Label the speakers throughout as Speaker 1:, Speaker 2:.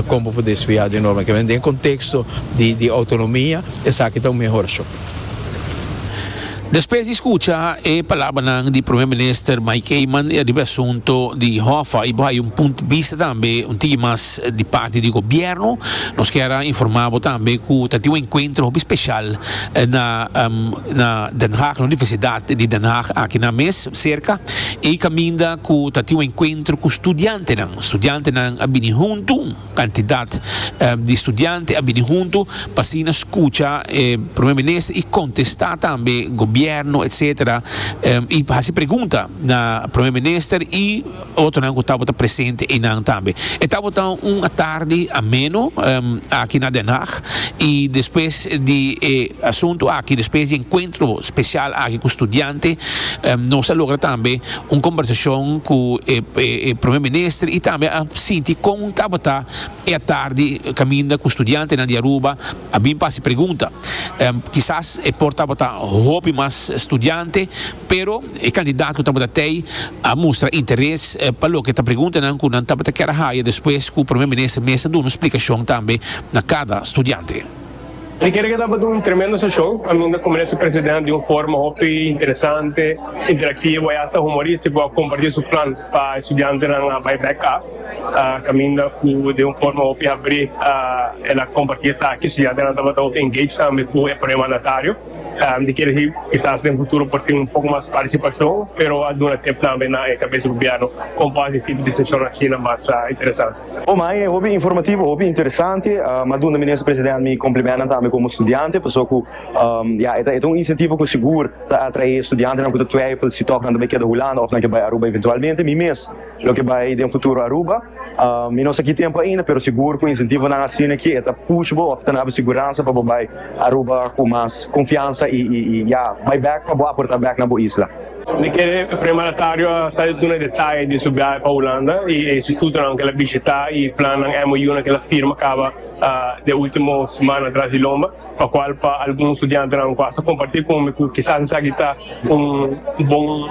Speaker 1: Kon bo por desviá di norma? Ke men den konteksto di outonomia esaki ta un mehorashon.
Speaker 2: Despues di skucha e palabranan di Prome Minister Mike Eman riba e asunto di Hoffa i bo haya un punt di bista tambe un tiki mas di parti di gobierno, nos kier a informa bo tambe ku ta tin un enkuentro hopi speshal na na Den Haag, na Universidat di Den Haag aki nan mes serka i kaminda ku ta tin un enkuentro ku studiantenan. Studiantenan a bini huntu. Kantidat di studiante a bini huntu pa asina skucha e Prome Minister i kontestá tambe gobièrnu etsetera i hasi pregunta na Prome Minister i otronan ku tabata presente einan tambe. E tabata un atardi ameno aki na Den Haag i despues di e asuntu aki, despues di e enkuentro spesial aki ku studiante nos a logra tambe un kombersashon ku e Prome Minister i tambe a sinti kon tabata e atardi kaminda ku studiantenan di Aruba a bin pa hasi pregunta. Kisas e por tabata hopi mas studiante, pero e kandidat ku tabata tei a mustra interes pa loke ta preguntanan ku nan tabata kier a haya despues ku Prome Minister mes a duna un splikashon tambe na kada studiante.
Speaker 3: Mi kere ke tabata un tremendo seshon kaminda ku Minister President di un forma hopi interesante, interactivo i asta humoristico a comparti su plan pa e studiantenan a bai bek kas. Kaminda ku den un forma hopi habrí el a comparti esaki. Studiantenan tabata hopi engaged tambe ku e prome mandatario. Mi kere si kisas den futuro por tin un poko mas partisipashon, pero a duna tip tambe na e kabes di gobierno kon por hasi tipo di seshon asina mas interesante.
Speaker 4: Oh my, e hopi informativo, hopi interesante. M'a duna Minister President mi complimentnan tambe como studiante, paso cu ya e ta e ta un incentivo cu sigur ta atrae studiantenan cu ta twijfel si toch nan ta bay keda Hulanda of nan ke bay Aruba eventualmente. Mi mes lo ke bay den futuro Aruba. Mi no sa ki tempo ainda, pero sigur cu incentivonan asina aki e ta push bo of ta na bo siguransa pa bo bay Aruba cu mas confiansa y y ya bay bek pa bo aporta bek na bo isla.
Speaker 3: Mi kere e premandatario a sa duna detaye di su biahe pa Hulanda y e institutonan ku el a bishita y plannan MOU-nan ku el a firma kaba den ultimo simannan tras di lomba, pa cual pa algun studiantenan ku hasta comparti ku mi ku kisas esaki ta un bon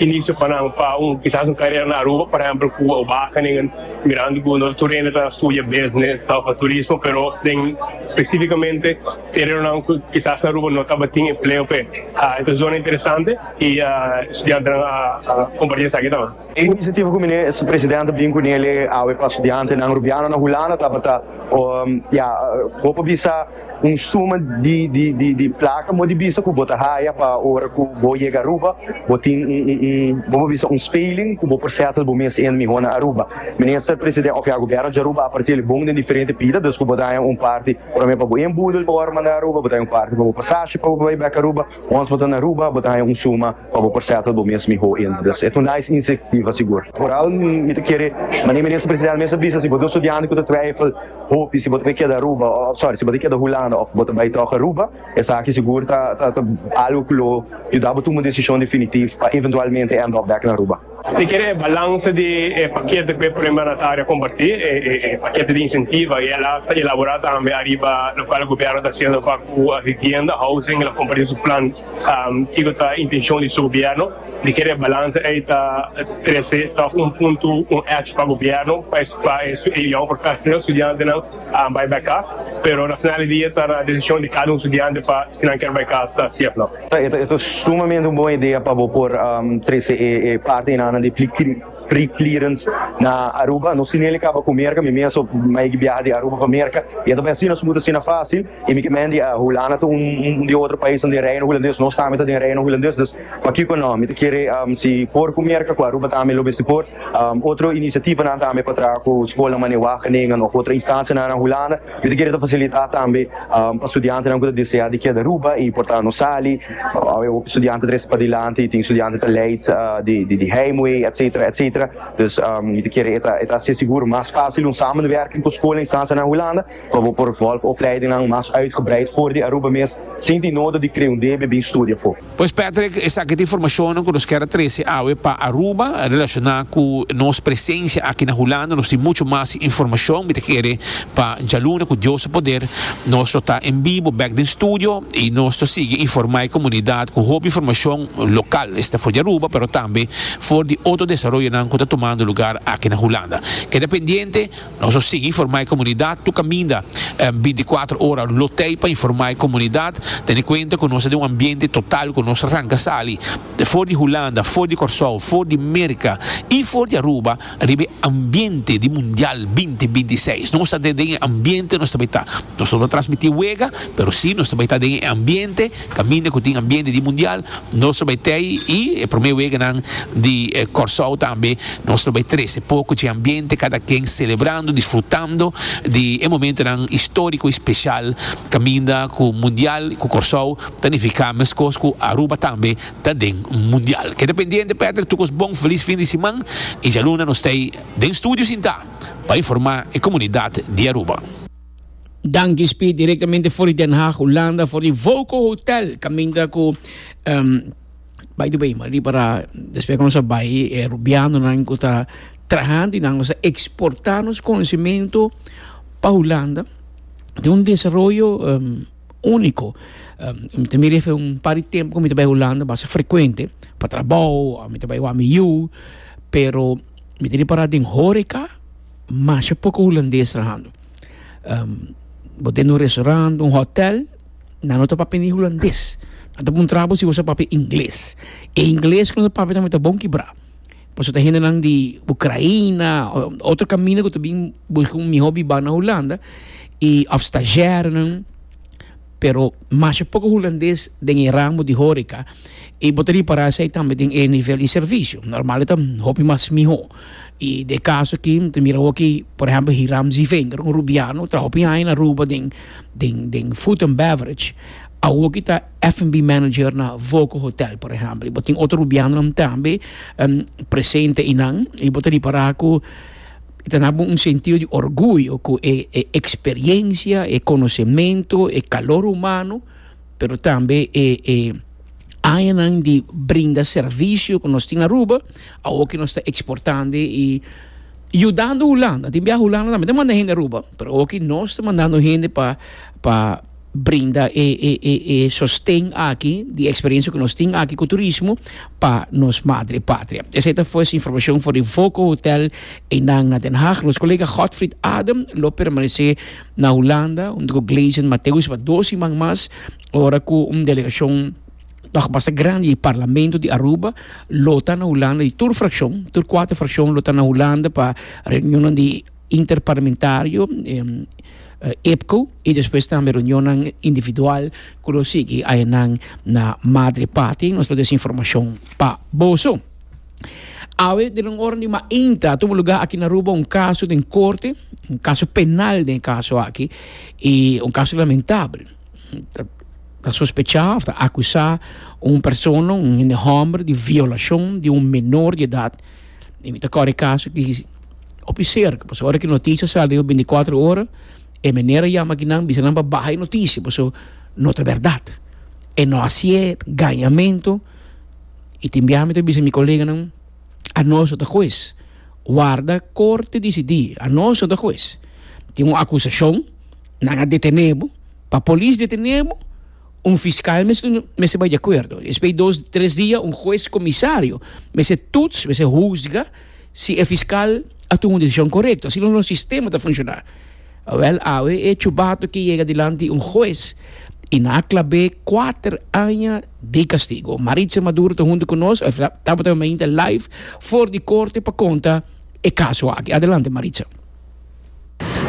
Speaker 3: inicio pa nan pa un kisas un carera na Aruba, por ehempel ku Wageningen, mirando ku no tur hende ta studia business of turismo pero den specificamente terenonan ku kisas na Aruba no tabatin empleo p'e. E ta zona interesante y studiantenan a comparti esaki tambe.
Speaker 4: E iniciativa cu Minister President a bin cu nele awe pa studiantenan Rubiano na Hulanda tabata ya bo por bisa un suma di di di placa mo di bisa cu bo ta haya pa ora cu bo yega Aruba bo tin un un bo por bisa un speling cu bo por settle bo mes in miho na Aruba. Minister President of ya Gobierno di Aruba a parti el bon den diferente pida dus cu bo ta haya un parti Prome pa bo inboedel pa wòrdu manda Aruba, bo ta haña un parti pa bo pasashi pa bo bai bèk Aruba. Ons bo ta na Aruba, bo ta haña un suma pa bo por sètel bo mes mihó in. Dus e ta un nice inisiativa sigur. Foral mi ta kere, manera Minister Presidente mes a bisa, si bo ta un studiante ku ta twijfel hopi si bo ta bai keda Aruba òf sorry si bo ta keda Hulanda òf bo ta bai tòg Aruba, esaki sigur ta ta algu ku lo yuda bo tuma un desishon definitif pa eventualmente end up bèk na Aruba.
Speaker 3: Mi kere e balansa di e pakete ku e Prome Mandatario a kompartí, e pakete di insentiva i el a sta elaborá tambe ariba lokual gobièrnu ta hasiendo pa ku vivienda, housing, el a kompartí su plan kiko ta intenshon di su gobièrnu. Mi kere e balansa ei ta trese tòg un punto, un edge pa gobièrnu pa e young professional, studiantenan bai bai kas, pero na final di dia ta na desishon di kada un studiante pa si nan kier bai kas si òf no.
Speaker 4: E ta sumamente un bon idea pa bo por trese e parti einan di pre-clearance na Aruba. Nos tin el kaba ku Merka, mi mes mai biaha di Aruba pa Merka i e ta bai asina smooth, asina fácil. I mi ke men di Hulanda ta un di otro paisnan den Reino Hulandes, nos tambe ta den Reino Hulandes, dus pakiko no? Mi ta kere si por ku Merka, ku Aruba tambe lo mester por. Otro inisiativanan tambe pa traha ku skolnan manera Wageningen òf otro instansianan na Hulanda. Mi ta kere ta fasilitá tambe pa studiantenan ku ta deseá di keda Aruba i por ta no sali. Awe hopi studiante ta trese padilanti i tin studiante ta leid di heimwee etcetera etcetera. Dus mi ta kere e ta e ta hasi sigur mas fásil un samenwerking ku skol i instansianan na Hulanda pa bo por volg opleidingnan mas uitgebreid for di Aruba mes sin tin nodo di krea un debe bin studia afó.
Speaker 2: Pues Patrick, esaki ta informacionnan cu nos kier a trece awe pa Aruba relaciona cu nos presencia aki na Hulanda. Nos tin mucho mas informacion, mi ta kere pa djaluna cu Dios su poder nos lo ta en bibo bek den studio y nos lo sigui informa e comunidad cu hopi informacion local, esta for di Aruba pero tambe for. di otro desaroyonan ku ta tumando lugar aki na Hulanda. Keda pendiente, nos lo sigui informá e komunidat tur kaminda bintikuater ora lo tei pa informá e komunidat. Tene kuenta ku nos ta den un ambiente total ku nos ranka sali for di Hulanda, for di Kòrsou, for di Merka i for di Aruba riba e ambiente di Mundial 2026. Nos ta den e ambiente nos ta bai ta. Nos no ta transmití wega, pero sí nos ta bai ta den e ambiente, kaminda ku tin ambiente di Mundial, nos ta bai tei i e promé weganan di Kòrsou tambe nos ta bai trese poko dje ambiente, kada ken selebrando, disfrutando di e momentonan históriko i speshal kaminda ku Mundial ku Kòrsou ta nifiká meskos ku Aruba tambe ta den Mundial. Keda pendiente Patrick, tur kos bon, felis fin di siman i djaluna nos ta ei den studio sintá pa informá e komunidat di Aruba.
Speaker 5: Danki Speed directamente for di Den Haag, Hulanda, for di Voco Hotel, caminda cu um, by the way, maar para después cu nos a bay, e Rubianonan cu ta trahando y nan nos a exporta nos conocimiento pa Hulanda, den un desaroyo um, único. Um, mi ta mira efe un par di tempo cu mi ta bay Hulanda basta frecuente, pa trabou, mi ta bay wak mi yu, pero mi ta ripara den horeca, masha poco hulandes trahando. Bo den un restaurant, un hotel, nan no ta papia ni hulandes. Nan ta puntra bo si bo sa papia ingles. E ingles ku nan ta papia tambe ta bon kibrá. Pasobra ta hendenan di Ukraina, otro kaminda ku ta bin buska un mihó bibá na Hulanda, i òf stazjèrnan. Pero masha poko hulandes den e ramo di horeca y bo ta ripara esey tambe den e nivel di servicio. Normal e ta hopi mas miho. Y den e caso aki ta mira hoki por ehempel Hiram Zievinger, un Rubiano, traha hopi aña na Aruba den den den food and beverage, awoki ta F&B manager na Voco Hotel por ehempel. Y bo tin otro Rubianonan tambe presente eynan y bo ta ripara cu. E ta daba un sentido di orguyo ku e e eksperiencia, e konosementu, e kalor humano, pero tambe e e añanan di brinda servisio ku nos tin na Aruba, awor ku nos ta eksportando i yudando Hulanda. Tin biaha Hulanda tambe ta manda hende Aruba, pero awor ku nos ta mandando hende pa pa brinda e e e e sosten aki di experiencia ku nos tin aki ku turismo pa nos madre patria. Esei ta fues informacion for di Voco Hotel einan na Den Haag. Nos colega Godfried Adem lo permanece na Hulanda hunto ku Gleison Mateus pa dos siman mas ora ku un delegacion tog basta grandi di Parlamento di Aruba lo ta na Hulanda di tur fraccion, tur cuater fraccion lo ta na Hulanda pa reunionnan di interparlamentario, IPCO, y despues tambe reunionnan individual cu lo sigui ayanan na Madre Patria. Nos lo des informacion pa boso. Awe den un ora di mainta a tuma lugar aki na Aruba un caso den corte, un caso penal den e caso aki, y un caso lamentabel. Ta sospecha of ta acusa un persona, un hende homber di violacion di un menor di edad. Y mi ta kòrda e kaso ki hopi serka, pasobra ora ki notisia sali riba bintikuater ora, e meneer a yama kinan bisa nan pa baha e notisia, pasobra no ta bèrdat. E no hasié gañamentu y tin biaha mi ta bisa mi koleganan, anos no ta hues, warda korte disidí, anos no ta hues. Tin un akusashon, nan a detené bo, pa polis detené bo, Un fiscal mester mester bai di acuerdo. Despues di dos, tres dia un hues comisario mester toets, mester huzga si e fiscal a tuma un decision corecto. Asina nos sistema ta funciona. Awel, awe e chubato ki yega dilanti un hues y nan a clab'é cuater aña di castigo. Maritza Maduro ta hunto cu nos, tabata mainta live for di corte pa conta e caso aki. Adelante Maritza.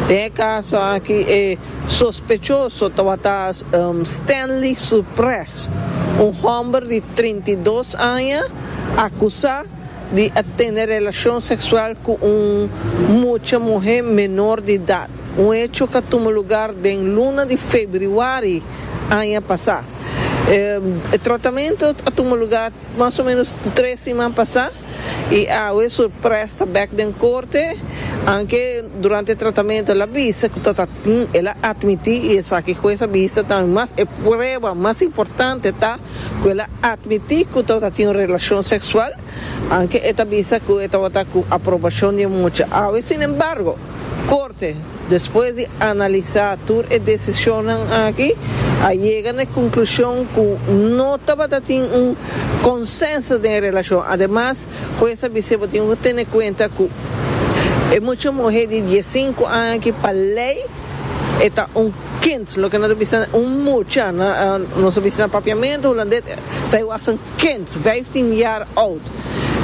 Speaker 6: Den e kaso aki e sospechoso tabata Stanley Surpres, un hòmber di 32 aña akusá di a tene relashon seksual ku un mucha muhé menor di edat, un hecho ku a tuma lugar den luna di febrüari aña pasá. E tratamentu a tuma lugar mas o ménos tres siman pasá. I awe Surpres ta bek den korte, anke durante e tratamentu el a bisa ku ta ta tin, el a atmití i esaki hues a bisa tambe mas e prueba mas importante ta ku el a atmití ku tabata tin un relashon seksual, anke e ta bisa ku e tabata ku aprobashon di e mucha. Awe sinembargo. Korte, despues di analisá tur e desishonnan aki, a yega na e konklushon ku no tabata tin un konsensus den e relashon. Ademas, hues a bis'é bo tin ku tene kuenta ku e mucha muhé di diesinku aña aki pa lei e ta un kind, loke nan ta bisa un mucha, nos ta bisa na papiamentu hulandes, zij was een kind, vijftien jaar oud.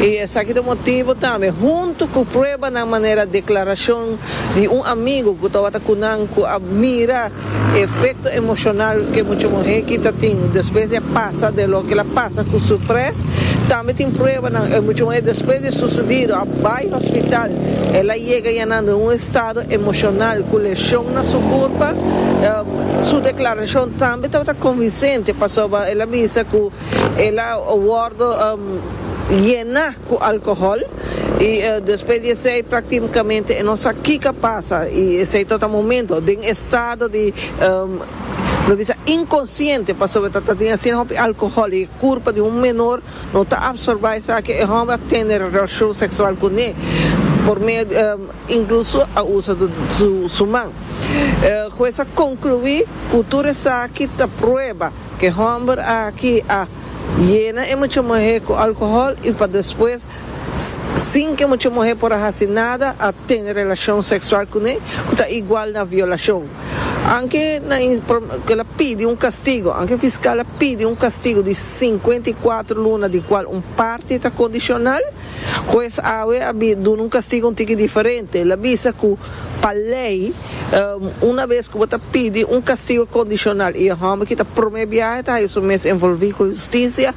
Speaker 6: I esaki ta motibu tambe, huntu ku pruebanan manera deklarashon di un amigu ku tabata ku nan ku a mira efekto emoshonal ku e mucha muhé ki ta tin despues di a pasa de loke el a pasa ku su pres. Tambe tin pruebanan e mucha muhé despues di susudido a bai hospital, el a yega yanan den un estado emoshonal ku leshon na su kurpa. Su deklarashon tambe tabata konvinsente pasobra el a bisa ku El a wordo yena cu alcohol y despues di esey practicamente e no sa kico a pasa y esey ta ta momento den estado di lo bisa inconsciente pasobra ta ta tin asina hopi alcohol y e curpa di un menor no ta absorba esaki e homber a tene relacion sexual cune por medio incluso a usa su man. Hues a conclui cu tur esaki ta prueba. Ke hòmber aki a yena e mucha muhé ku alkohòl i pa despues, sin ke mucha muhé por a hasi nada, a tene relashon seksual kuné, ku ta igual na violashon. Anke na el a pidi un kastigu, anke fiskal a pidi un kastigu di 54 luna di kual un parti ta kondishonal, hues awe a duna un kastigu un tiki diferente. El a bisa ku pa lei, Una bes ku bo ta pidi un kastigo kondishonal i e hòmber ki ta promé biaha ta haña su mes envolví ku hustisia,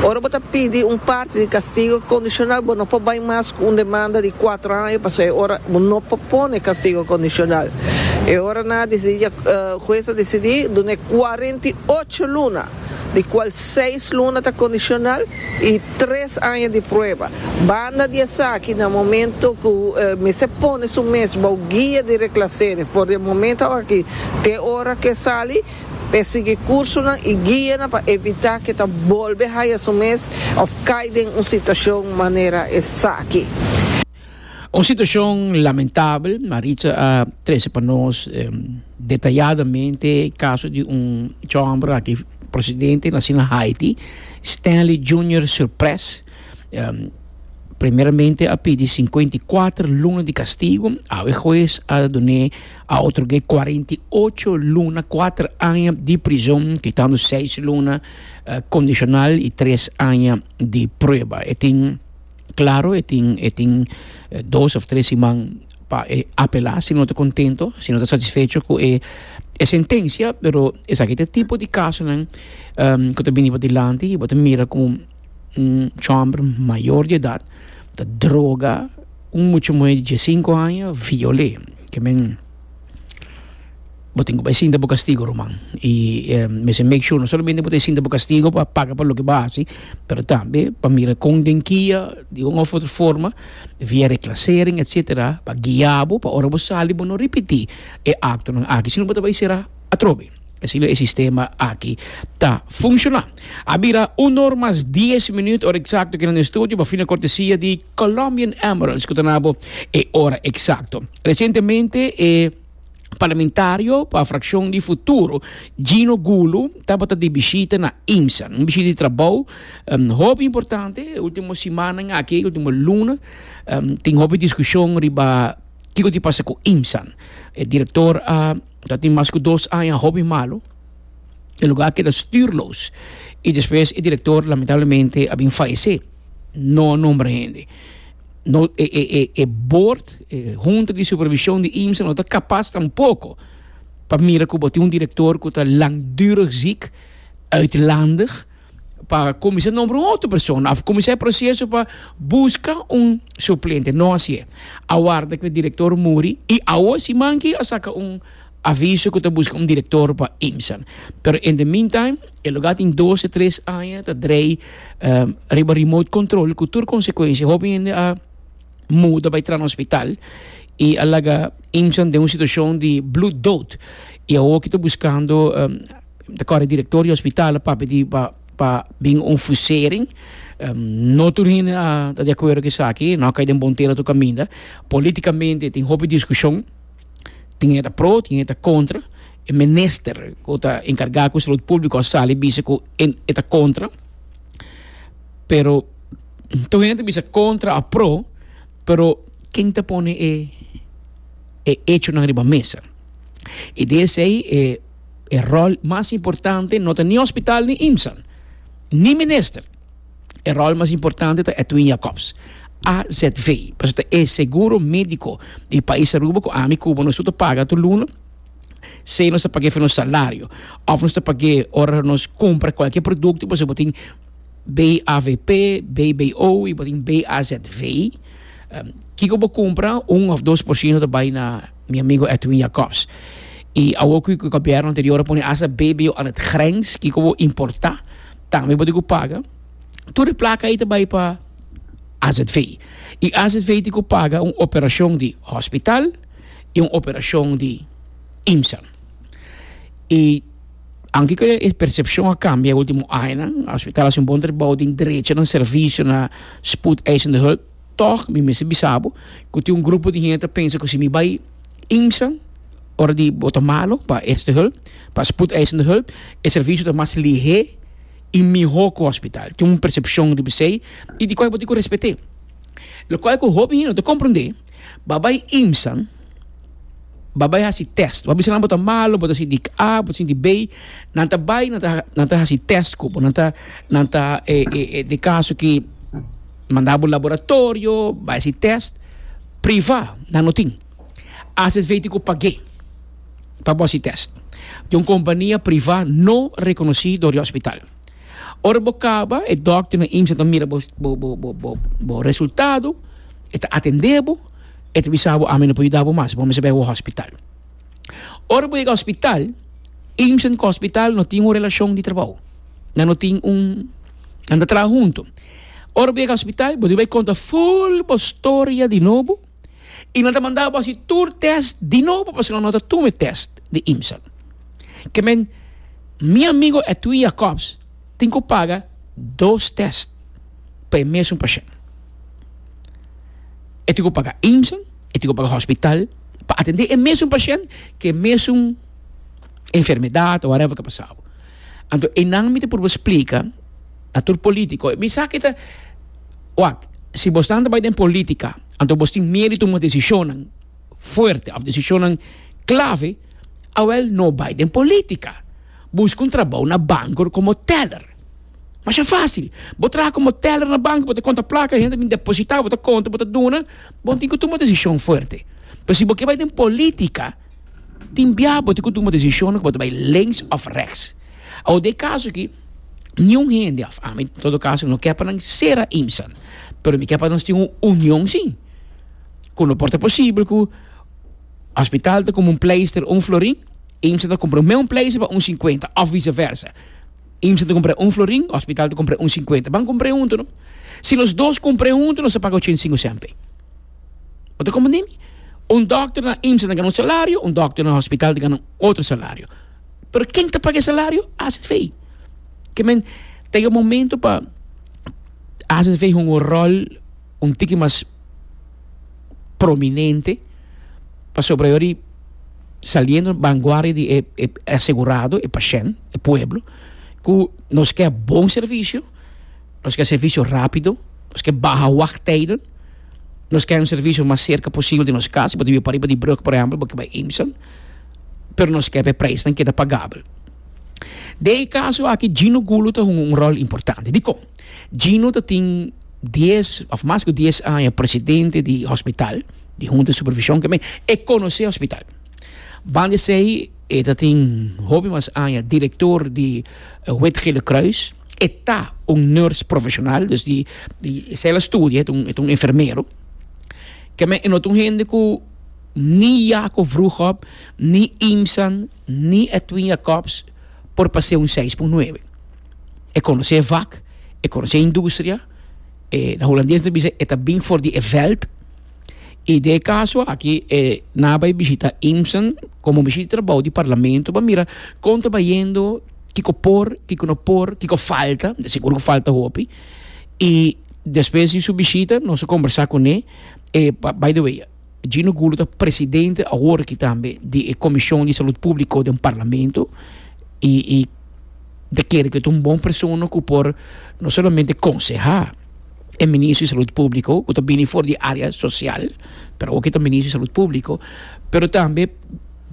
Speaker 6: ora bo ta pidi un parti di kastigo kondishonal bo no por bai mas ku un demanda di kuatro aña pasobra e ora bo no por pone kastigo kondishonal. E ora nan a disidí, hues a disidí dun'é 48 luna. di cual seis luna ta condicional y tres aña di prueba. Banda di esaki, na momento cu mester pone su mes bou guia di reclassering for di e momento aki te ora cu e sali, p'e sigui cursonan y guianan pa evita cu e ta bolbe haya su mes of cay den un situacion manera esaki.
Speaker 5: Un situacion lamentabel, Maritza a trece pa nos detayadamente e caso di un chomber aki procedente naci na Haiti, Stanley Junior Surpres, primeramente a pidi 54 luna di castigo, awe huez a dun'e a otorg'e 48 luna, cuater aña di prison, kitando seis luna condicional y tres aña di prueba. E tin. Claro e tin e tin dos of tres siman pa e apela si no ta contento, si no ta satisfecho cu e e sentencia, pero esaki ta e tipo di casonan cu ta bini padilanti y bo ta mira cu un chomber mayor di edad ta droga un mucha muhe di diescinco aña viol'e. Ke men. Bo tin ku bai sinta bo kastigo, ruman. I mester make sure no solamente bo ta sinta bo kastigo pa paga pa loke bo a hasi, pero tambe pa mira kon den kia di un of otro forma, via reclassering etcetera, pa guia bo pa ora bo sali bo no ripiti e aktonan aki, sino bo ta bai sera atrobe. Asina e sistema aki ta funciona. A bira un or mas dies minuut, ora exacto aki na estudio, pa fina cortesia di Colombian Emeralds ku ta na bo e ora exacto. Recientemente e Parlamentario pa fraccion di Futuro, Gino Gulu, tabata di bishita na IMSA. Un bishita di trabou hopi importante. E ultimo simannan aki, e ultimo luna, tin hopi discusion riba kico tin pasa cu IMSA. E director a ta tin mas cu dos aña hopi malo. E lugar a keda stuurloos. Y despues e director lamentablemente a bin fayece. No a nombra hende. No, e, e, e, e board, e junta di supervision di IMSA no ta capaz tampoco pa mira cu bo tin un director cu ta langdurig ziek, uitlandig, pa cuminsa nombra un otro persona of cuminsa e proceso pa busca un suplente. No hacié. A warda cu e director muri y awo siman ki a saca un aviso cu ta busca un director pa IMSA. Pero in the meantime, e lugar tin dos o tres aña ta drei riba remote control cu tur consecuencia. Hopi hende a muda bay traha na hospital y a laga IMSA den un situacion di bloed dood. Y awo ki ta buscando, ta core director di hospital a papia di pa pa bin un fusering. No tur hende a ta di acuerdo cu esaki, no a cay den bon tera tur caminda. Politicamente tin hopi discusion. Tin hende ta pro, tin hende ta kontra. E minister ku ta enkargá ku salud públiko a sali bisa ku e ta kontra. Pero tur hende ta bisa kontra òf pro, pero ken ta pone e e echonan riba mesa? I di esei e e ròl mas importante no ta ni hospital ni IMSAN, ni minister. E ròl mas importante ta Edwin Jacobs, AZV, pasobra ta e seguro médiko di pais Aruba ku ami ku bo nos tur ta paga tur luna, sea nos ta pag'é for nos salario òf nos ta pag'é ora nos kumpra kualke produkto pasobra bo tin BAVP, BBO i bo tin BAZV. Kiko bo kumpra un òf 2% ta bai na mi amigo Edwin Jacobs. I awor ku e gobièrnu anterior a pone asta BBO aan het grens, kiko bo importá Tambe bo tin ku paga. Tur e plaka ei ta bai pa AZV. I AZV tin ku paga un operashon di hospital i un operashon di IMSA. I anke ku e persepshon a kambia e ultimo añanan, hospital a hasi un bon trabou den drecha nan servisio na spoedeisende hulp, tòg mi mester bisa bo ku tin un grupo di hende ta pensa ku si mi bai IMSA ora di bo ta malo pa eerste hulp, pa spoedeisende hulp, e servisio ta mas lihé i mihó ku hospital. Tin un persepshon riba esei i di kual bo tin ku respet'é. Lokual ku hopi hende no ta komprondé, bo a bai IMSA, bo a bai hasi tèst, bo a bisa nan bo ta malo, bo ta sinti A, bo ta sinti B, nan ta bai nan ta nan ta hasi tèst ku bo, nan ta nan ta den kaso ki manda bo laboratorio, bai hasi tèst, privá nan no tin. AZV tin ku pag'é pa bo hasi tèst. Di un kompania privá no rekonosí dor di hospital. Ora bo kaba, e dòkter na IMSA ta mira bo bo bo bo bo bo resultado, e ta atendé bo, e ta bisa bo ami no por yuda bo mas, bo mester bai bo hospital. Ora bo yega hospital, IMSA ku hospital no tin un relashon di trabou. Nan no tin un, nan ta traha huntu. Ora bo yega hospital, bo debe bai konta ful bo storia di nobo. I nan ta manda bo hasi tur test di nobo pasobra nan no ta tuma e test di IMSA. Ke men, mi amigo Edwin Jacobs tin ku paga dos test pa e mesun pashent. E tin ku paga IMSA, e tin ku paga hospital pa atende e mesun pashent ku e mesun enfermedat o whatever ku a pasabo. Anto einan mi ta purba splika na tur politico, mi sa ke ta. Wak, si bosnan ta bai den politica, anto bos tin miedu di tuma decisionnan fuerte of decisionnan clave, awel no bai den politica. Busca un trabou na banco como teller. Masha facil. Bo traha como teller na banco, bo ta conta placa, hende ta bin deposita, bo ta conta, bo ta duna, bo no tin cu tuma decision fuerte. Pero si bo ke bai den politica, tin bia bo tin cu tuma decisionnan cu bo ta bai links of rechts. Awor den e caso aki, Niun hende, of ami en todo caso, no ke pa nan sera IMSAN. Pero mi ke pa nos tin un union si. Ku no por ta posibel ku hospital ta kumpra un pleister un florin, IMSAN ta kumpra un pleister pa un sinkuenta, of vice versa. IMSAN ta kumpra un florin, hospital ta kumpra un sinkuenta. Ban kumpra huntu no. Si nos dos kumpra huntu nos ta paga ochenta i sinku sènpe. Bo ta komprende mi? Un dòkter na IMSAN ta gana un salario, un dòkter na hospital ta gana un otro salario. Pero ken ta paga e salario? AZV. Ke men ta yega momento pa AZV hunga un ròl un tiki mas prominente pasobra yori saliendo vanguardia di e e asegurado, e pashènt, e pueblo, ku nos ke bon servisio, nos ke servisio rápido, nos ke baha wachttijden, nos ke un servisio mas serka posibel di nos kas, bo ta biba pariba di brug por ehèmpel, bo ke bai Eemsel. pero nos ke pa e prijsnan keda pagabel. Den e kaso aki Gino Gulo ta hunga un ròl importante. Dikon? Gino ta tin dies òf mas ku dies aña presidente di hospital, di hunta di supervishon ke men e konosé hospital. Banda esei e ta tin hopi mas aña direktor di Wit Gele Kruis. E ta un nurse profeshonal, dus di di esei el a studia, e ta un e ta un enfermero. Ke men e no ta un hende ku. Ni Jaco Vroegop, ni Imsan, ni Edwin Jacobs por pas'é un seis pun nuebe. E konosé e vak, e konosé e industria, e na hulandes ta bisa e ta bin for di e vèlt. I den e kaso aki e nan a bai bishita Imsan komo bishita di trabou di parlamento pa mira kon ta bayendo, kiko por, kiko no por, kiko falta, de sigur ku falta hopi. I despues di su bishita nos a kombersá kuné, e by the way. Gino Gulo ta presidente awor aki tambe di e Comision di Salud Publico den Parlamento y y ta kere cu e ta un bon persona cu por no solamente conseha e Ministro di Salud Publico cu ta bini for di area social, pero awor aki ta Ministro di Salud Publico, pero tambe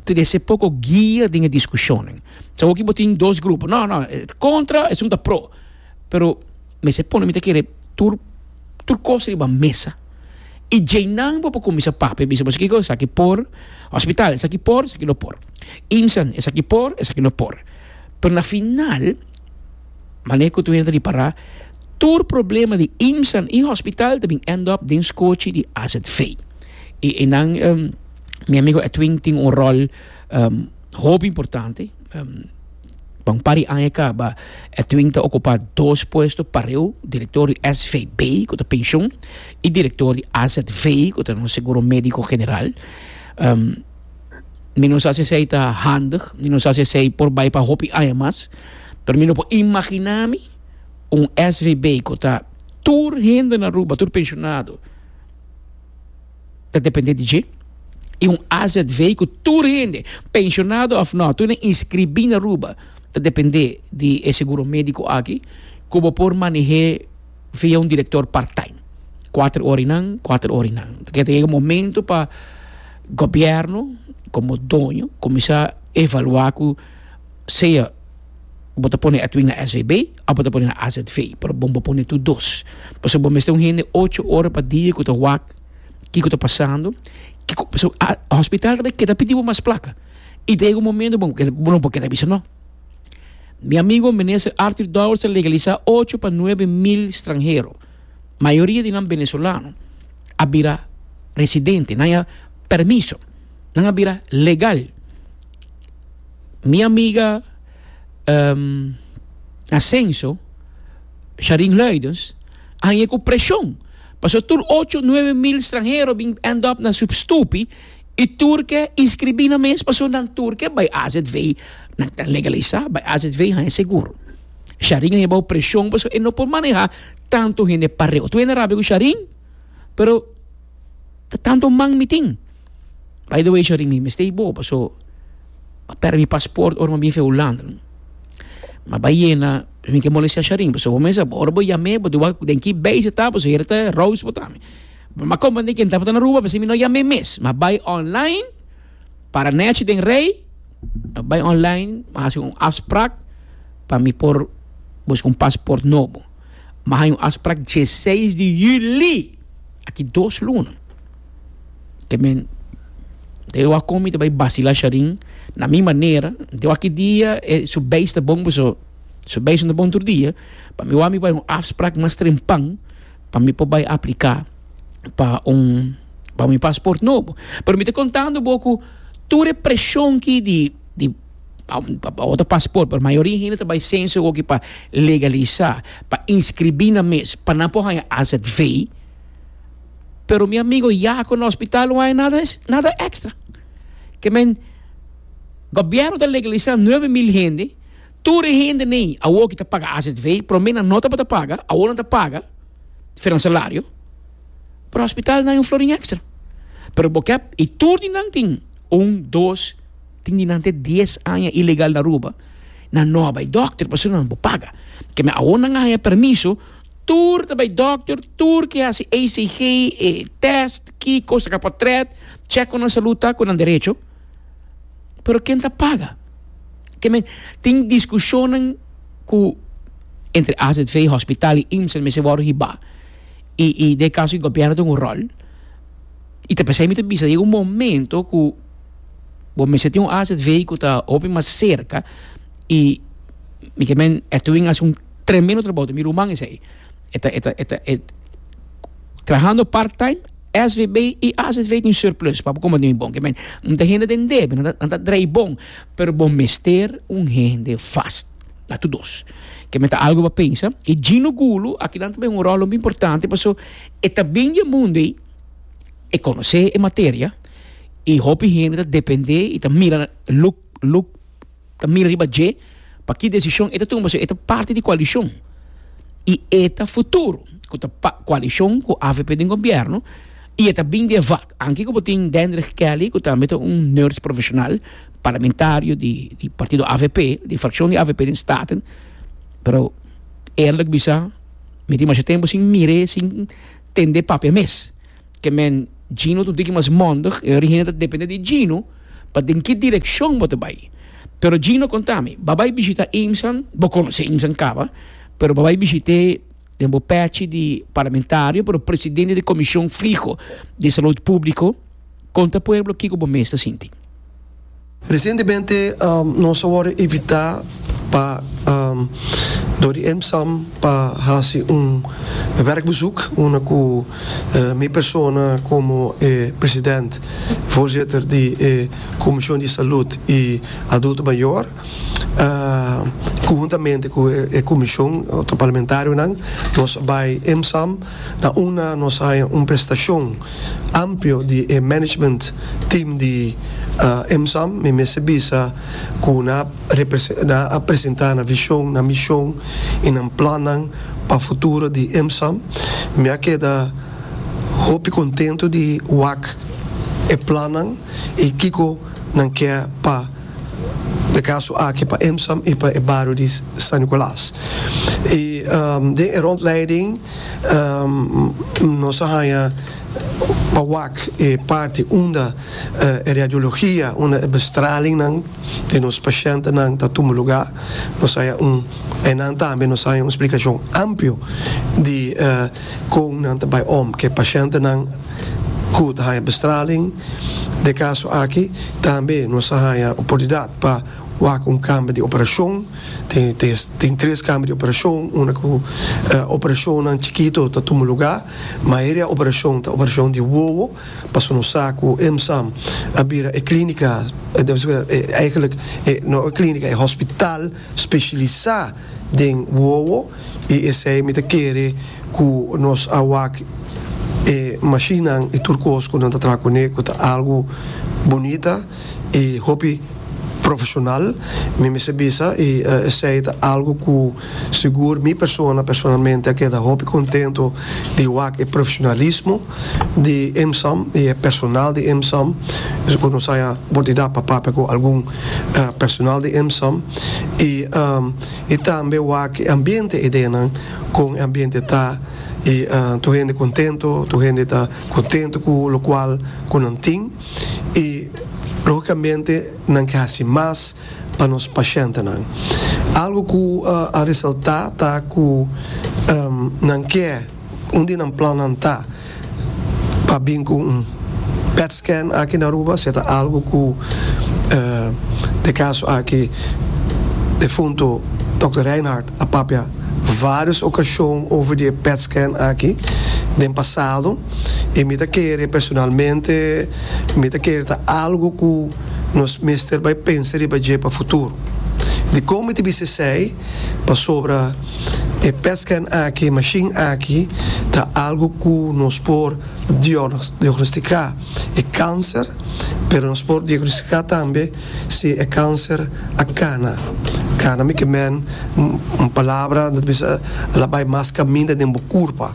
Speaker 5: trece poco guia den e discusionnan. So awor aki bo tin dos grupo, no no contra esun ta pro, pero mester pone mi ta kere tur tur cos riba mesa. I djeinan bo por kuminsá papia bisa boso kiko esaki por hospital, esaki por, esaki no por. Imsan, esaki por, esaki no por. Pero na final, manera ku tur hende ta ripará, tur problema di Imsan i hospital ta bin end up den skochi di AZV. I einan mi amigo Edwin tin un ròl hopi importante. Pa un par di aña kaba Edwin ta ocupa dos puesto pareu, director di SVB, cu ta pensioen, y director di AZV, cu ta nos seguro medico general. Mi no sa si esey ta handig, mi no sa si esey por bay pa hopi aña mas, pero mi no por imagina mi un SVB cu ta tur hende na Aruba, tur pensionado, ta depende di dje y un AZV cu tur hende, pensionado of no, tur hende inscribi na Aruba ta depende di e seguro medico aki cu bo por manehe via un director part time. Cuater ora y nan, cuater ora y nan. Pasobra ta yega momento pa gobierno como doño cuminsa evalua cu sea bo ta pone Edwin na SVB of bo ta pone na AZV, pero bon bo pone tur dos. Pasobra bo mester un hende ocho ora pa dia ku ta wak kiko ta pasando, kiko, pasobra hospital ta bai keda pidi bo mas plaka. I ta yega un momento bo bo no por keda bisa no. Mi amigo minister Arthur Dowers a legalisa ocho pa nuebe mil stranhero, mayoria di nan venezolano, a bira residente, nan a permiso, nan a bira legal. Mi amiga Ascenso, Sharin Luidens, a hañ'é ku preshon. Pasobra tur ocho, nuebe mil stranhero bin end up na su stupi i tur ke inskribí nan mes pasobra nan tur ke bai AZV, nan ta legalisá, bai AZV haña seguro. Sharin a haña bou preshon pasobra e no por manehá tantu hende pareu. Tur hende rabia ku Sharin, pero ta tantu man mi tin. By the way Sharin mi mester bo paso a perde mi paspoort ora mi a bin fe Hulanda. Ma bai yena mi ke molestia Sharin paso bo mester ora bo yam'e bo di wak den ki base e ta paso hera ta roos bo ta. Ma komprende ken tabata na Aruba p'esei mi no yam'e mes. Ma bai online para nechi den rei a bai online a hasi un afspraak pa mi por buska un paspoort nobo. Ma haña un afspraak dieseis di juli aki dos luna. Te men te wak kon mi ta bai basila Sharin na mi manera te wak ki dia e su beis ta bon paso su beis no ta bon tur dia pa mi wak mi bai un afsprak mas trempan pa mi por bai aplika pa un pa mi pasport nobo pero mi ta kontando bo ku tur e preshon ki di di pa otro pasport pero mayoria hende ta bai senso awoki pa legalisa pa inscribi nan mes pa nan por haña AZV. Pero mi amigo Jaco na hospital no hay nada, nada extra. Ke men, gobierno ta legalisa 9000 hende, tur e hende nei awor ki ta paga AZV, prome nan no tabata paga, awor nan ta paga, for nan salario, pero hospital no hay un florin extra. Pero bo ke, y tur di nan tin un, dos, tin di nan te dies aña ilegal na Aruba, nan no a bay dokter pasobra nan no por paga. Ke men awor nan a haya permiso. Tur ta bai dokter, tur ke hasi ECG, e test, kiko, saka potret, check ku nan salud ta ku nan derecho. Pero ken ta paga? Ke men tin diskushonnan ku entre AZV, hospital i IMSA mester wòrdu hibá. I i den e kaso di gobièrnu tin un ròl. I ta p'esei mi ta bisa yega un momento ku bo mester tin un AZV ku ta hopi mas serka i mi ke men Edwin hasi un Tremendo trabou ta mi ruman esei. E ta e ta e ta e trahando part time SVB y AZV tin surplus pa bo como den bon. Ke men un ta hende den debe nan ta nan ta drei bon pero bo mester un hende vast na tur dos. Ke men ta algo pa pensa y Gino Gulu aki nan ta bay un rol hopi importante paso e ta bin di e mundo ey e conoce e materia y hopi hende ta depende y ta mira look look ta mira riba dje pa ki desishon e ta tuma pasobra e ta parti di koalishon i e ta futuro ku ta koalishon ku avp den gobièrnu. I e ta bin di e vak. Anke ku bo tin Dendrich Kelly ku tambe ta un nurse profeshonal, parlamentario di di partido avp, di frakshon di avp den Staten, pero eerlijk bisa mi tin masha tempu sin mir'é, sin tend'é papia mes. Ke men Gino ta un tiki mas mondig, e ora hende ta depende di Gino pa den ki direkshon bo ta bai. Pero Gino konta mi, bo a bai bishita Imsan, bo konosé Imsan kaba, pero bo a bai bishit'é den bo pechi di parlamentario, pero presidente di Comision Fiho di Salud Publico, conta pueblo kico bo mes ta sinti.
Speaker 7: Recientemente nos a worde invita pa door di EMSAM pa haci un werkbezoek unda cu mi persona como e president, voorzitter di e Comision di Salud y Adulto Mayor, Conhuntamente cu e comision, otro parlamentarionan, nos a bay EMSAM na unda nos a haya un prestacion amplio di e management team di EMSAM. Mi mester bisa cu nan a presenta nan vision, nan mision y nan plannan pa futuro di EMSAM. Mi a keda hopi contento di wak e plannan y kico nan ke pa e kaso aki pa Emsam i pa e bario di San Nicolas. I den e rondleiding nos a haña pa wak e parti unda e radiologia, unda e bestralingnan di nos pashentenan ta tuma lugá. Nos haña un, einan tambe nos haña un splikashon amplio di kon nan ta bai om ku e pashentenan ku ta haña bestraling. Den e kaso aki tambe nos a haña oportunidat pa wak un kamber di operashon. Tin tres kamber di operashon, unda ku operashonnan chikito ta tuma lugá. Mayoria operashon ta operashon di wowo, pasobra nos sa ku EMSAM a bira e klínika, eigenlijk no e klínika, e hospital spesialisá den wowo. I esei mi ta kere ku nos a wak e mashinnan i tur kos ku nan ta traha kuné ku ta algu bunita i hopi profeshonal, mi mester bisa, i esei ta algu ku sigur mi persona personalmente a keda hopi kontento di wak e profeshonalismo di EMSAM i e personal di EMSAM, ku nos haya oportunidat pa papia ku algun personal di EMSAM i. I tambe wak e ambiente e denan kon e ambiente ta i tur hende kontento, tur hende ta kontento ku lokual ku nan tin i logikamente nan ke hasi mas pa nos pashentenan. Algu ku a resaltá ta ku nan ke. Un di nan plannan ta pa bin ku un pet scan aki na Aruba, si e ta algu ku de kaso aki defunto Dòkter Reinhard a papia vários okashon over di e pet scan aki den pasado i mi ta kere personalmente mi ta kere ta algu ku nos mester bai pensa riba dje pa futuro. Dikon mi ta bisa esei? Pasobra e petscan aki, e mashin aki, ta algu ku nos por diagnostica e kanser, pero nos por diagnostica tambe si e kanser a kana. Kana mi ke men un palabra ta bisa el a bai mas kaminda den bo kurpa.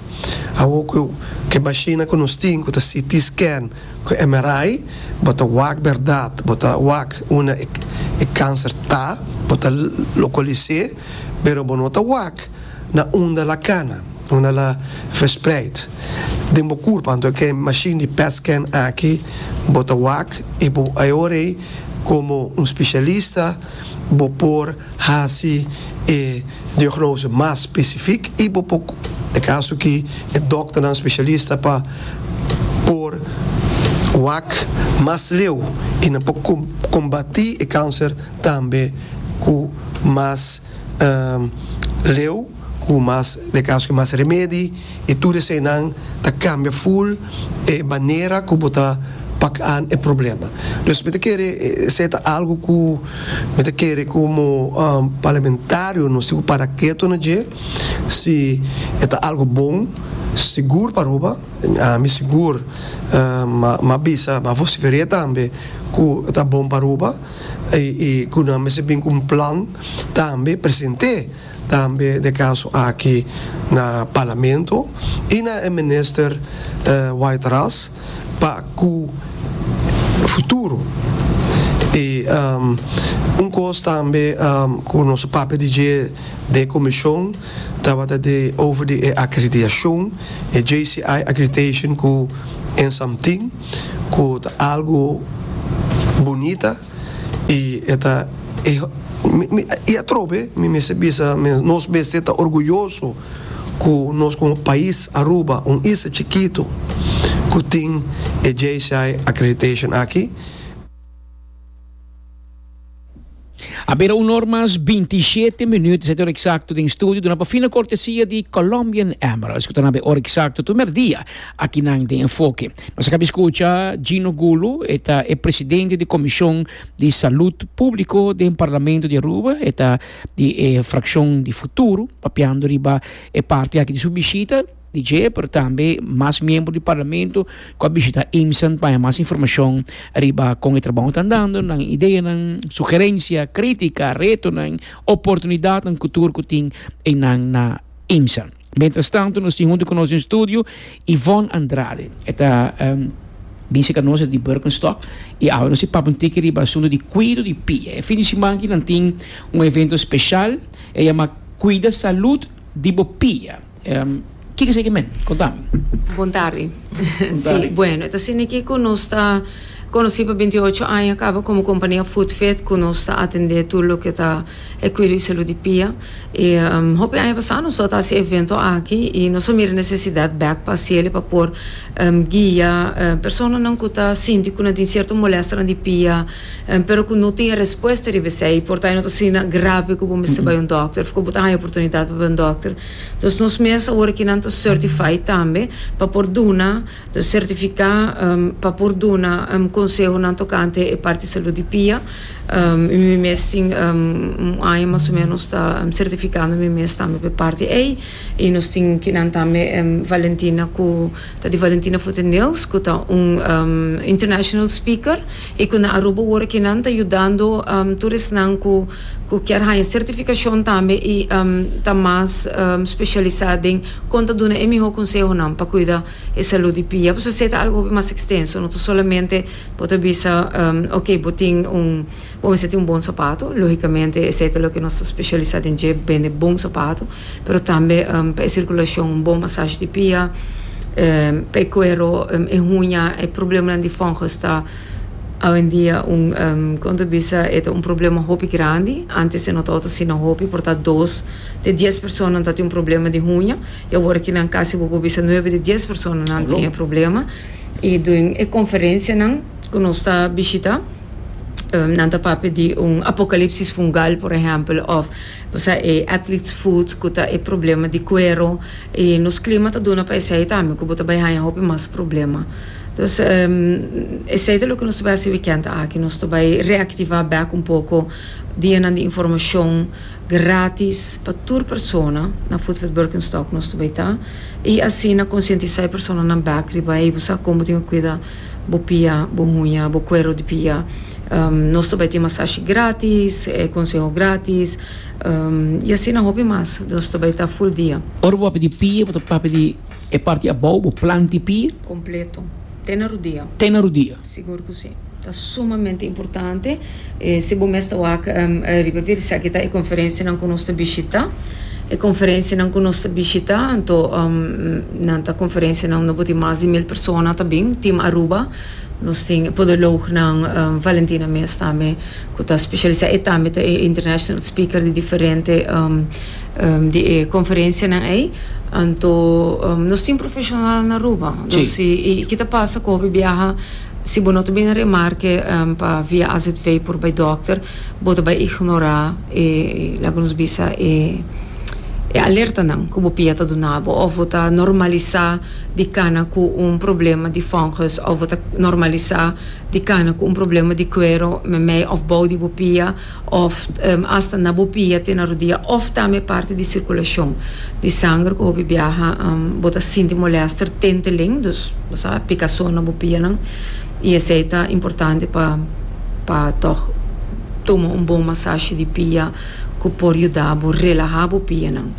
Speaker 7: Awor ku e mashinnan ku nos tin ku ta CT scan, Ku MRI bo ta wak bèrdat, bo ta wak unda e kanser ta, bo ta lokalis'é, pero bo no ta wak na unda la kana, unda la verspreid den bo kurpa. Anto ke mashin di PET scan aki bo ta wak i bo e ora ei komo un spesialista bo por hasi e diagnose mas specific y bo por, e caso aki e dokternan specialista pa por wak mas leu y nan por combati e cancer tambe cu mas leu, cu mas, den caso aki mas remedi. I tur eseinan ta kambia ful e manera ku bo ta pak aan e problema. Dus mi ta kere esei ta algu ku mi ta kere komo parlamentario nos tin ku para keto na dje si e ta algu bon. Sigur pa Aruba, ami sigur m'a bisa, m'a vocifer'é tambe ku ta bon pa Aruba i ku nan mester bin ku un plan tambe present'é tambe den kaso aki na Parlamento i na e minister White Ras pa ku futuro. I un kos tambe ku nos a papia di dje den e komishon tabata di over di e akreditashon, e JCI accreditation ku Ensam tin, ku ta algu bunita i e ta e i atrobe mi mester bisa nos mester ta orguyoso ku nos komo pais Aruba, un isla chikitu ku tin e JCI accreditation aki.
Speaker 5: A bira un or mas bintishete minuut, esei ta ora eksakto den studio, duna pa fina kortesia di Colombian Emeralds, ku ta na be ora eksakto tur merdia akinan den Enfoke. Nos a kabi skucha Gino Gulu, e ta e presidente di Komishon di Salud Públiko den Parlamento di Aruba, e ta di e frakshon di Futuro, papiando riba e parti aki di su bishita. Di dje, pero tambe mas miembro di Parlamento cu a bishita IMSAN pa haña mas informacion riba con e trabao ta andando, nan ideanan, sugerencia, critica, retonan, oportunidadnan cu tur cu tin eynan na IMSAN. Mientras tanto nos tin hunto cu nos den studio Yvonne Andrade. E ta bin cerca nos di Birkenstock y awe nos ta papia un tiki riba asunto di cuido di pia. E fin di siman aki nan tin un evento special, e yama Cuida Salud di bo Pia. Kiko esei ke men? Konta mi.
Speaker 8: Bon tardi. Si, bueno, e ta asina aki ku nos ta konosí pa binti ocho aña kaba komo kompania Foodfit ku nos ta atendé tur loke ta e kuido i salud di pia. I hopi aña pasá nos tabata hasi e evento aki i nos a mira nesesidat bèk pa hasiel pa por guia personanan ku ta sinti ku nan tin sierto molèsternan di pia pero ku no tin e respuesta riba esei. Por ta e no ta asina grave ku bo mester bai un dòkter òf ku bo ta haña oportunidat pa bai un dòkter. Dus nos mes awor aki nan ta certified tambe pa por duna, dus certifica pa por duna consehonan tocante e parti salud di pia. Y mi mes tin un aña mas o menos ta certificando mi mes tambe pa e parti ey. Y nos tin kinan tambe Valentina cu ta di Valentina Foot and Nails cu ta un international speaker y cu na Aruba awor aki nan ta yudando tur esnan cu cu kier haña certificacion tambe y ta mas specialisa den con ta duna e miho consehonan pa cuida e salud di pia. Pasobra esey ta algo hopi mas extenso, no ta solamente bo ta bisa ok bo tin un bo mester tin un bon sapato, logicamente esey ta loke nos ta specialisa den dje, bende bon sapato, pero tambe pa e circulacion un bon masaje di pia, pa e cuero, e huña, e problemanan di fungus ta. Awendia un kon ta bisa e ta un problema hopi grandi. Antes e no tabata asina hopi, por ta dos te dies personanan ta tin un problema di huña y awor aki nan casi bo por bisa nuebe di dies personanan tin e problema. Y den e conferencianan cu nos ta bishita nan ta papia di un apocalipsis fungal por ehempel of osea e athlete's foot cu ta e problema di cuero y nos clima ta duna pa esey tambe cu bo ta bay haña hopi mas problema. Dus esei ta loke nos ta bai hasi wikènt aki. Nos ta bai reaktivá bèk un poko dianan di informashon grátis pa tur persona na Foodfit Birkenstock nos ta bai ta i asina konsientisá e personanan bèk riba ei bo sa kon bo tin ku kuida bo pia, bo huña, bo kuero di pia. Nos ta bai tin masashi grátis, konseho grátis i asina hopi mas. Nos ta bai ta ful dia.
Speaker 5: Ora bo papia di pia bo ta papia di. E parti abou bo planti pia.
Speaker 8: Completo. Te na rudia.
Speaker 5: Te na rudia.
Speaker 8: Sigur cu si. Ta sumamente importante. Si bo mes ta wak riba vir esaki ta e conferencianan cu nos ta bishita. E conferencianan cu nos ta bishita anto nan ta conferencianan unda bo tin mas di mil persona ta bin. Team Aruba. Nos tin podoloognan Valentina mes tambe cu ta specialisa. E tambe ta e international speaker di diferente. Di e conferencianan ey, anto nos tin profesional na Aruba. Dus y ki ta pasa cu hopi biaha si bo no ta bini remarke pa via AZV por bay dokter, bo ta bay ignora e, laga nos bisa e. e alertanan ku bo pia ta duna bo òf bo ta normalisá di kana ku un problema di fungus òf bo ta normalisá di kana ku un problema di kuero meimei òf bou di bo pia òf asta na bo pia te na rodia òf tambe parti di sirkulashon di sanger ku hopi biaha bo ta sinti molèster tenteling dus bo sa pikason na bo pianan i esei ta importante pa pa tòg tuma un bon masashi di pia ku por yuda bo relahá bo pianan.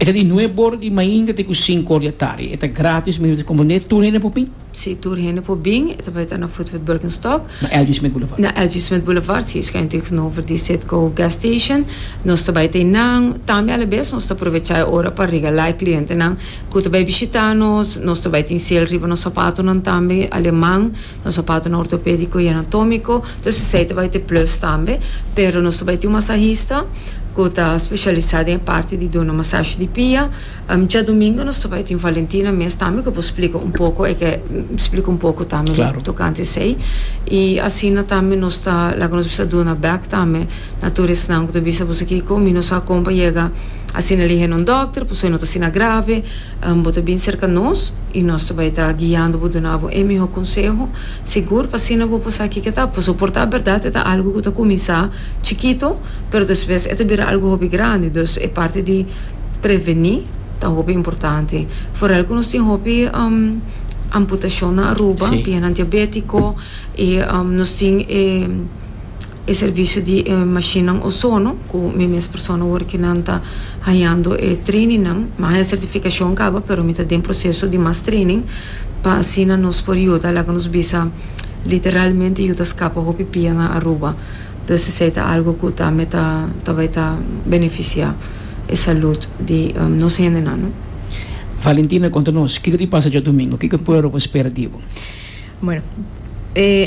Speaker 5: E ta di nuebe or di mainta te ku sinku or di atardi. E ta gratis, mi ta komprendé. Tur hende por bin?
Speaker 8: Sí, tur hende por bin. E ta bai ta na Footfoot Birkenstock.
Speaker 5: Na LG. Smith Boulevard.
Speaker 8: Na LG. Smith Boulevard, sí, schuin tegenover di Citgo Gas Station. Nos ta bai ta einan. Tambe alabes nos ta aprovechá e ora pa regalá e klientenan ku ta bai bishitá nos. Nos ta bai tin sale riba nos sapatonan tambe, aleman, nos sapatonan ortopédiko i anatómiko. Entonces esei ta bai ta e plus tambe. Pero nos ta bai tin un masahista ku ta spesialisá den e parti di duna masashi di pia. Djadumingu nos ta bai tin Valentina mes tambe ku por splika un poko, e ke splika un poko tambe tokante esei. I asina tambe nos ta laga nos bisa duna bèk tambe na tur esnan ku ta bisa boso kiko mi no sa kon pa yega asina lihe na un dòkter pasobra no ta asina grave. Bo ta bin serka nos i nos ta bai ta guiando bo duna bo e mihó konseho sigur pa asina bo por sa kiko ta. Pasobra por ta bèrdat e ta algu ku ta kuminsá chikito pero despues e ta bira algu hopi grandi. Dus e parti di. Prevení ta hopi importante. Foral ku nos tin hopi amputashon na Aruba, pianan diabétiko i nos tin e e servisio di e mashinnan ozono ku mi mes persona awor ki nan ta hañando e trainingnan. Mi a haña sertifikashon kaba pero mi ta den proseso di mas training pa asina nos por yuda laga nos bisa literalmente yuda skapa hopi pia na Aruba. Dus esei ta algu ku tambe ta ta bai ta benefisiá e salud di nos hendenan, no.
Speaker 5: Valentina, konta nos, kiko di pasa djadumingu? Kiko e pueblo por spera di bo?
Speaker 9: Bueno,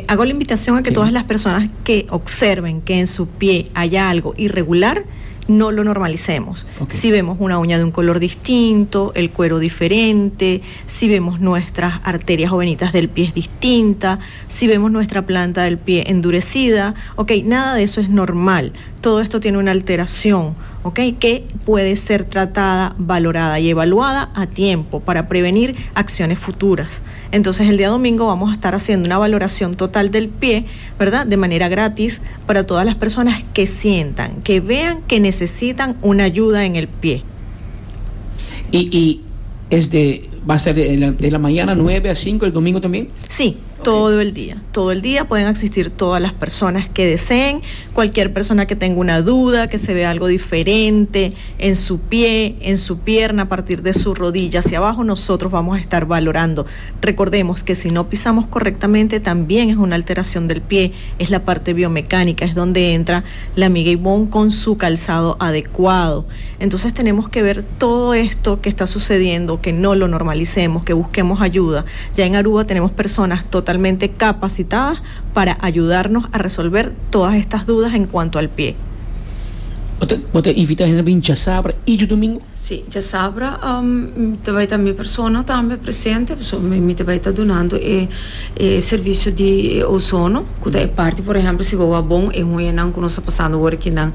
Speaker 9: hago la invitación a que todas las personas que observen que en su pie haya algo irregular, no lo normalicemos. Si vemos una uña de un color distinto, el cuero diferente, si vemos nuestras arterias o venitas del pie distinta, si vemos nuestra planta del pie endurecida, ok, nada de eso es normal. Todo esto tiene una alteración, ok, que puede ser tratada, valorada y evaluada a tiempo para prevenir acciones futuras. Entonces el día domingo vamos a estar haciendo una valoración total del pie, ¿verdad? De manera gratis para todas las personas que sientan, que vean que necesitan una ayuda en el pie.
Speaker 5: Y, y es de, va a ser de la, de la mañana 9 a 5 el domingo también?
Speaker 9: Sí, todo el día. Todo el día pueden asistir todas las personas que deseen. Cualquier persona que tenga una duda, que se vea algo diferente en su pie, en su pierna, a partir de su rodilla hacia abajo, nosotros vamos a estar valorando. Recordemos que si no pisamos correctamente, también es una alteración del pie, es la parte biomecánica, es donde entra la amiga Ivonne con su calzado adecuado. Entonces tenemos que ver todo esto que está sucediendo, que no lo normalicemos, que busquemos ayuda. Ya en Aruba tenemos personas totalmente capacitadas para ayudarnos a resolver todas estas dudas en cuanto al pie.
Speaker 5: Bo ta invita hende bin djasabra i djadumingu?
Speaker 8: Sí, djasabra ta bai ta mi persona tambe presente, pasobra mi ta bai ta dunando e e servisio di e ozono, ku ta e parti por ehèmpel si bo wak bon e huñanan ku nos ta pasando awor akinan,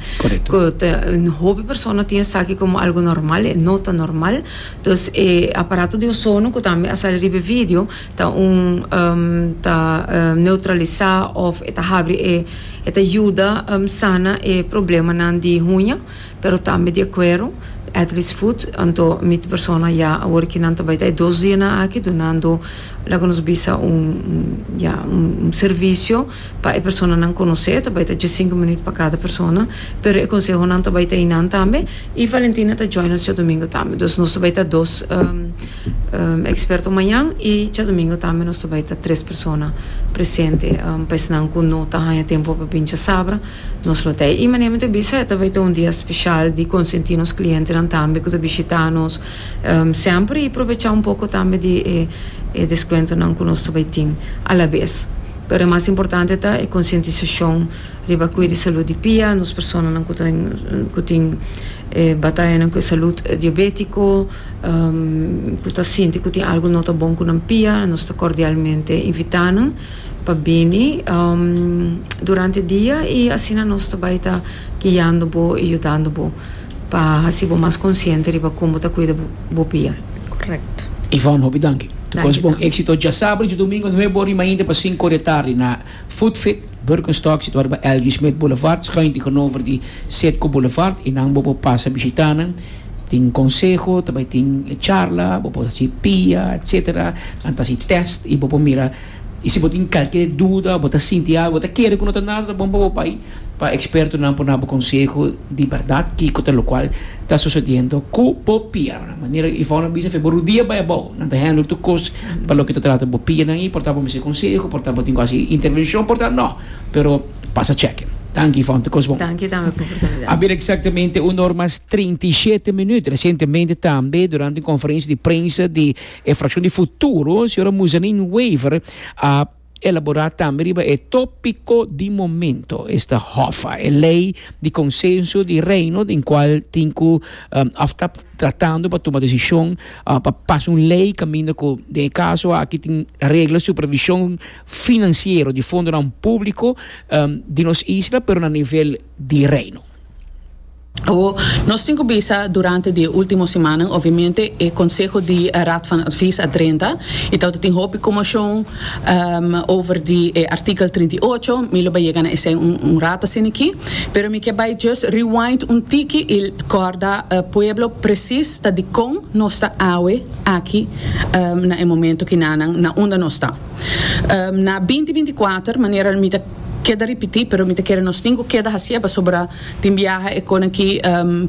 Speaker 8: ku ta hopi persona tin esaki komo algu normal, e no ta normal. Dus e aparato di ozono ku tambe a sali riba e video ta un ta neutralisá òf e ta habri e e ta yuda sana e problemanan di huña pero tambe di e kuero, athlete's foot, anto mi ta persona ya awor ki nan ta bai ta e dos dianan aki dunando laga nos bisa un ya un servisio pa e personanan konosé ta bai ta diesinku minüt pa kada persona pero e konsehonan ta bai ta einan tambe. Y Valentina ta join nos djadomingo tambe. Dus nos ta bai ta dos experto mañan y djadomingo tambe nos ta bai ta tres persona presente. Pa esnan cu no ta haña tempo pa bin djasabra, nos lo ta ey. Y manera mi ta bisa, e ta bai ta un dia special di consenti nos clientenan tambe cu ta bishita nos semper y probecha un poco tambe di e descuentonan cu nos ta bai tin alabes. Pero e mas importante ta e concientisacion. Riba cuida e salud di pia, nos personanan cu ta cu tin e batayanan cu e salud diabetico, cu ta sinti cu tin algo no ta bon cu nan pia, nos ta cordialmente invita nan pa bini durante dia y asina nos ta bay ta guiando bo y yudando bo. pa hasi bo mas konsiente riba kon bo ta kuida bo pia.
Speaker 9: Correcto.
Speaker 5: Yvonne, hopi danki. Tur kos bon. Éxito djasabra i djadumingo nuebe ora i mainta pa sinku ora di tardi na Food Fit, Birkenstock, situá riba Elgin Smith Boulevard, schuin tegenover di Citgo Boulevard. Einan bo por pasa bishitá nan. Tin konseho, ta bai tin charla, bo por hasi pia, etcetera. Nan ta hasi tèst i bo por mira. I si bo tin kalke duda, bo ta sinti algu, bo ta kere ku no ta nada, ta bon pa bo bai pa ekspertonan por duna bo konseho di bèrdat kiko ta lokual ta sosediendo ku bo pianan. Manera Yvonne a bisa, fe bo rudia bai abou, nan ta handle tur kos pa loke ta trata bo pianan ei, por ta bo mester konseho, por ta bo tin ku hasi intervenshon, por ta no, pero pasa chèke. Danki Yvonne, tur kos bon.
Speaker 8: Danki tambe pa oportunidat.
Speaker 5: A bira eksaktamente un or mas 37 minüt. Resientemente tambe durante un konferensia di prensa di E fraccion di Futuro, señora Muzanin Wever, a elabora tambe riba e topico di momento, esta Hoffa, e ley di consenso di Reino den cual tin cu of ta tratando pa tuma decision pa pasa un ley caminda cu den e caso aki tin regla supervision financiero di fondonan publico di nos isla pero na nivel di Reino.
Speaker 10: Awor, nos tin cu bisa durante di e ultimo simannan, obviamente e conseho di Raad van Advies a drenta y tabata tin hopi conmocion over di e artikel 38, mi lo bay yega na esey un rato asina aki, pero mi ke bay just rewind un tiki y corda pueblo precies ta dicon nos ta awe aki na e momento kinanan na unda nos ta. Na binti 24, manera mi ta keda ripiti, pero mi ta kere nos tin cu keda hacié pasobra Tin biaha e kon aki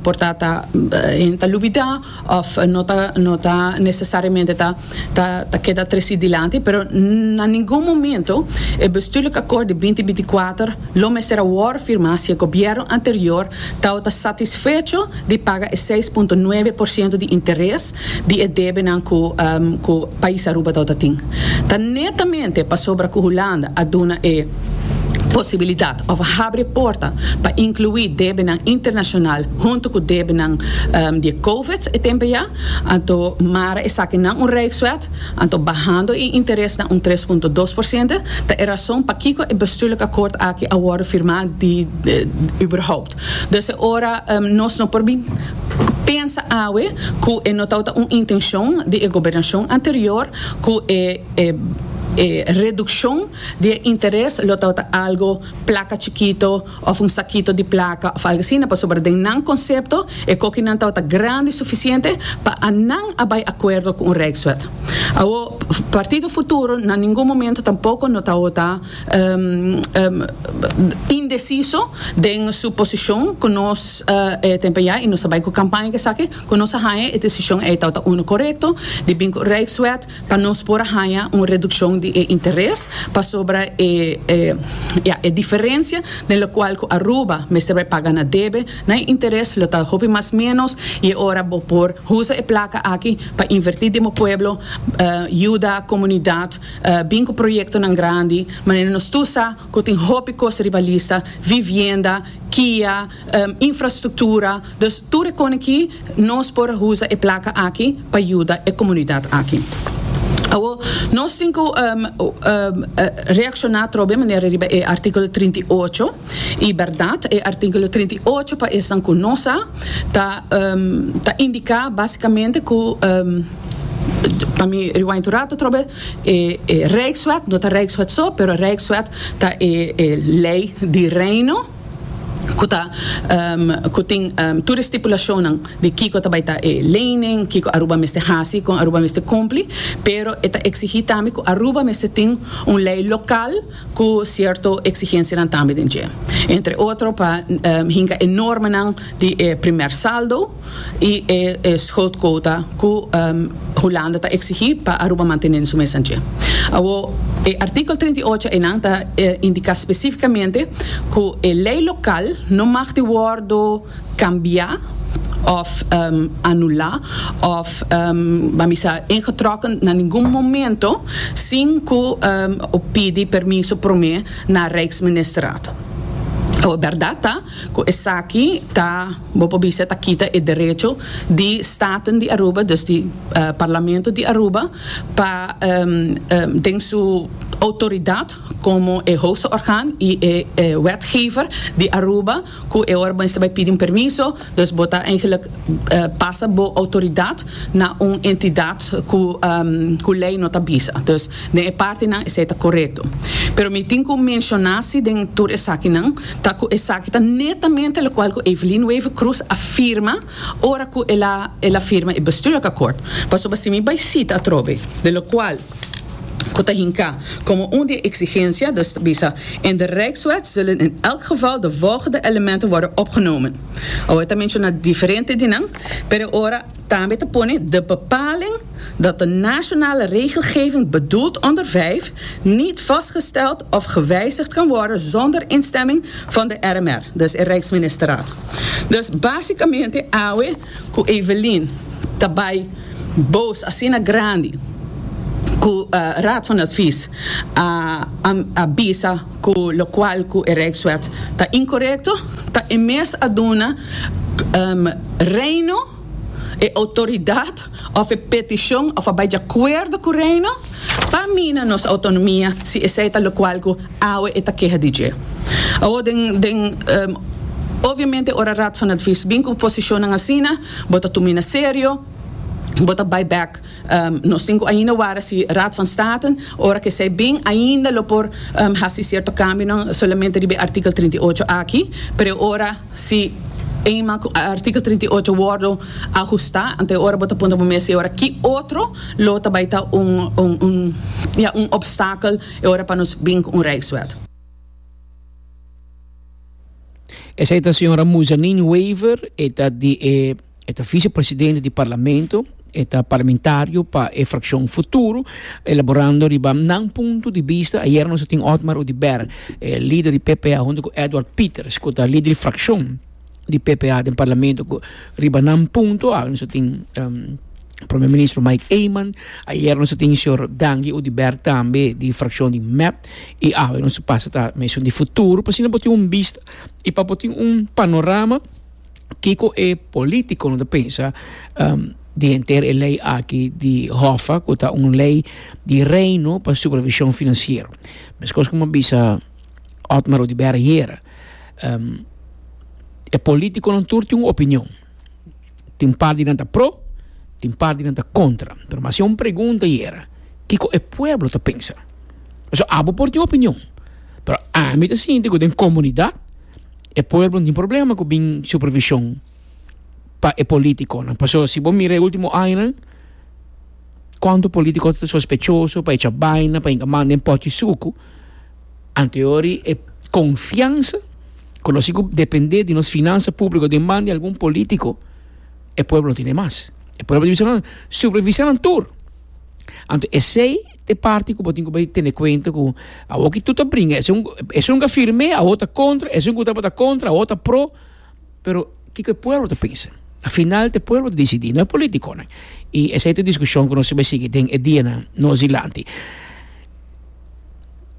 Speaker 10: por ta ta hende ta lubida of no ta no ta necesariamente ta ta ta keda treci dilanti pero na ningun momento e bestuurlijk akkoord di binti 24 lo mester a wor firma si e gobierno anterior tawata satisfecho di paga e 6.9% di interes di e debenan cu cu pais Aruba tawata tin. Ta netamente pasobra cu Hulanda a duna e posibilidad of a habri e porta pa inclui debenan internacional hunto cu debenan di e Covid e tempo ya, anto mara esaki nan un Rijkswet, anto bahando e interes na un 3.2%, ta e rason pakico e bestuurlijk akkoord aki a wordo firma di überhaupt. Dus e ora nos no por bin pensa awe cu e no tawata un intencion di e gobernacion anterior cu e e reduccion di e interes lo tawata algo placa chikito of un sakito di placa of algo asina pasobra den nan concepto e kokinan tawata grandi suficiente pa a nan a bay acuerdo cu un Rijkswet. Awo Partido Futuro na ningun momento tampoco no tawata indeciso den su posicion cu nos e tempo ya y nos a bay cu campaña cu esaki cu nos a haya e decision ey tawata uno corecto di bin cu Rijkswet pa nos por a haya un reduccion di e interes pasobra e ya e diferencia den locual cu Aruba mester bay paga na debe na e interes lo ta hopi mas menos y e ora bo por usa e placa aki pa inverti den bo pueblo yuda comunidad. Bin ku proyektonan grandi, manera nos tur sa ku tin hopi kos riba lista, vivienda, kia, infrastruktura, dus tur e kon aki nos por usa e plaka aki pa yuda e komunidat aki. Awor, nos tin ku reakshoná atrobe manera riba e artíkulo 38, i bèrdat e artíkulo 38 pa esnan ku no sa ta ta indiká básikamente ku, Pa mi rewind un rato atrobe, e e Rijkswet, no ta Rijkswet so, pero Rijkswet ta e e ley di Reino cu ta cu tin tur e stipulacionnan di kico ta bay ta e lening, kico Aruba mester haci, con Aruba mester cumpli, pero e ta exigi tambe cu Aruba mester tin un ley local cu cierto exigencianan tambe den dje. Entre otro pa hinca e normanan di e primer saldo y e schuldquota cu Hulanda ta exigi pa Aruba mantene su mes dje. Awo e artikel 38 eynan ta indica specificamente cu e ley local no mag di wordo cambia of anula of ban bisa ingetrokken na ningun momento sin cu pidi permiso prome na Rijksministerraad. Awo berdad ta cu esaki ta, bo por bisa, ta kita e derecho di Staten di Aruba, dus di Parlamento di Aruba, pa den su. autoridad como e hoogste orgaan y e wetgever di Aruba cu e ora bo mester bay pidi un permiso, dus bo ta eigenlijk pasa bo autoridad na un entidad cu cu ley no ta bisa. Dus den e partinan esey ta corecto. Pero mi tin cu menciona si den tur esakinan ta cu esaki ta netamente locual cu Evelyn Wever-Croes a firma ora cu el a el a firma e bestuurlijk akkoord. Pasobra si mi bay cita atrobe de locual cu ta hinca como un di e exigencia, dus ta bisa, In de Rijkswet zullen in elk geval de volgende elementen worden opgenomen. Awor e ta menciona diferente di nan, pero e ora tambe ta pone de bepaling dat de nationale regelgeving bedoeld onder 5 niet vastgesteld of gewijzigd kan worden zonder instemming van de RMR, dus e Rijksministerraad. Dus basicamente awe cu Evelyn ta bay boos asina grandi cu Raad van Advies a a bisa cu locual cu e Rijkswet ta incorecto, ta e mes a duna Reino e autoridad of e peticion of a bay di acuerdo cu Reino pa mina nos autonomia si esey ta locual cu awe e ta keha di dje. Awor den den obviamente ora Raad van Advies bin cu posicionnan asina bo ta tumina serio, bo ta bay bek. Nos tin cu ainda wara si Raad van State ora cu esey bin ainda lo por haci cierto cambionan solamente riba e artikel 38 aki, pero e ora si eenmaal cu artikel 38 wordo ahusta anto e ora bo ta puntra bo mes si e ora ki otro lo ta bay ta un un ya un obstakel e ora pa nos bin cu un Rijkswet.
Speaker 5: Esey ta señora Muzanin Wever, e ta di e E ta vicepresidente di Parlamento, e ta parlamentario pa e fraccion Futuro, elaborando riba nan punto di bista. Ayer nos a tin Otmar Oduber, e lider di PPA, hunto cu Edward Pieters, cu ta lider di fraccion di PPA den Parlamento, cu riba nan punto. Awe nos a tin Prome Ministro Mike Eman, ayer nos a tin señor Dangui Oduber tambe di fraccion di mep, y awe nos a pasa ta mesun di Futuro, pa asina bo tin un bista y pa bo tin un panorama. Kiko e politiconan ta pensa di henter e ley aki di Hoffa cu ta un ley di Reino pa supervision financiero? Mescos como a bisa Otmar Oduber ayera, e politiconan tur tin un opinion. Tin un par di nan ta pro, tin un par di nan ta contra. Pero mi a haci un pregunta ayera, kiko e pueblo ta pensa? Pasobra abo por tin opinion, pero ami ta sinti cu den comunidad, E pueblo no tin problema ku bin supervishon pa e politikonan. Pasobra si bo mira e ultimo añanan, kuantu politiko ta sospechoso pa echa baina, pa hinka man den pochi suku. Anteori e konfiansa ku nos tin ku depende di nos finansa públiko den man di algun politiko, e pueblo no tene mas. E pueblo ta bisa nan, supervisa nan tur. Anto esei ta e parti ku bo tin ku bai tene kuenta ku awor ki tur ta bringa. Esun esun ka firm'é awor ta kontra, esun ku tabata kontra awor ta pro. Pero kiko e pueblo ta pensa? Al final ta e pueblo ta disidí, no e politikonan. I esei ta e diskushon ku nos ta bai sigui den e dianan nos dilanti.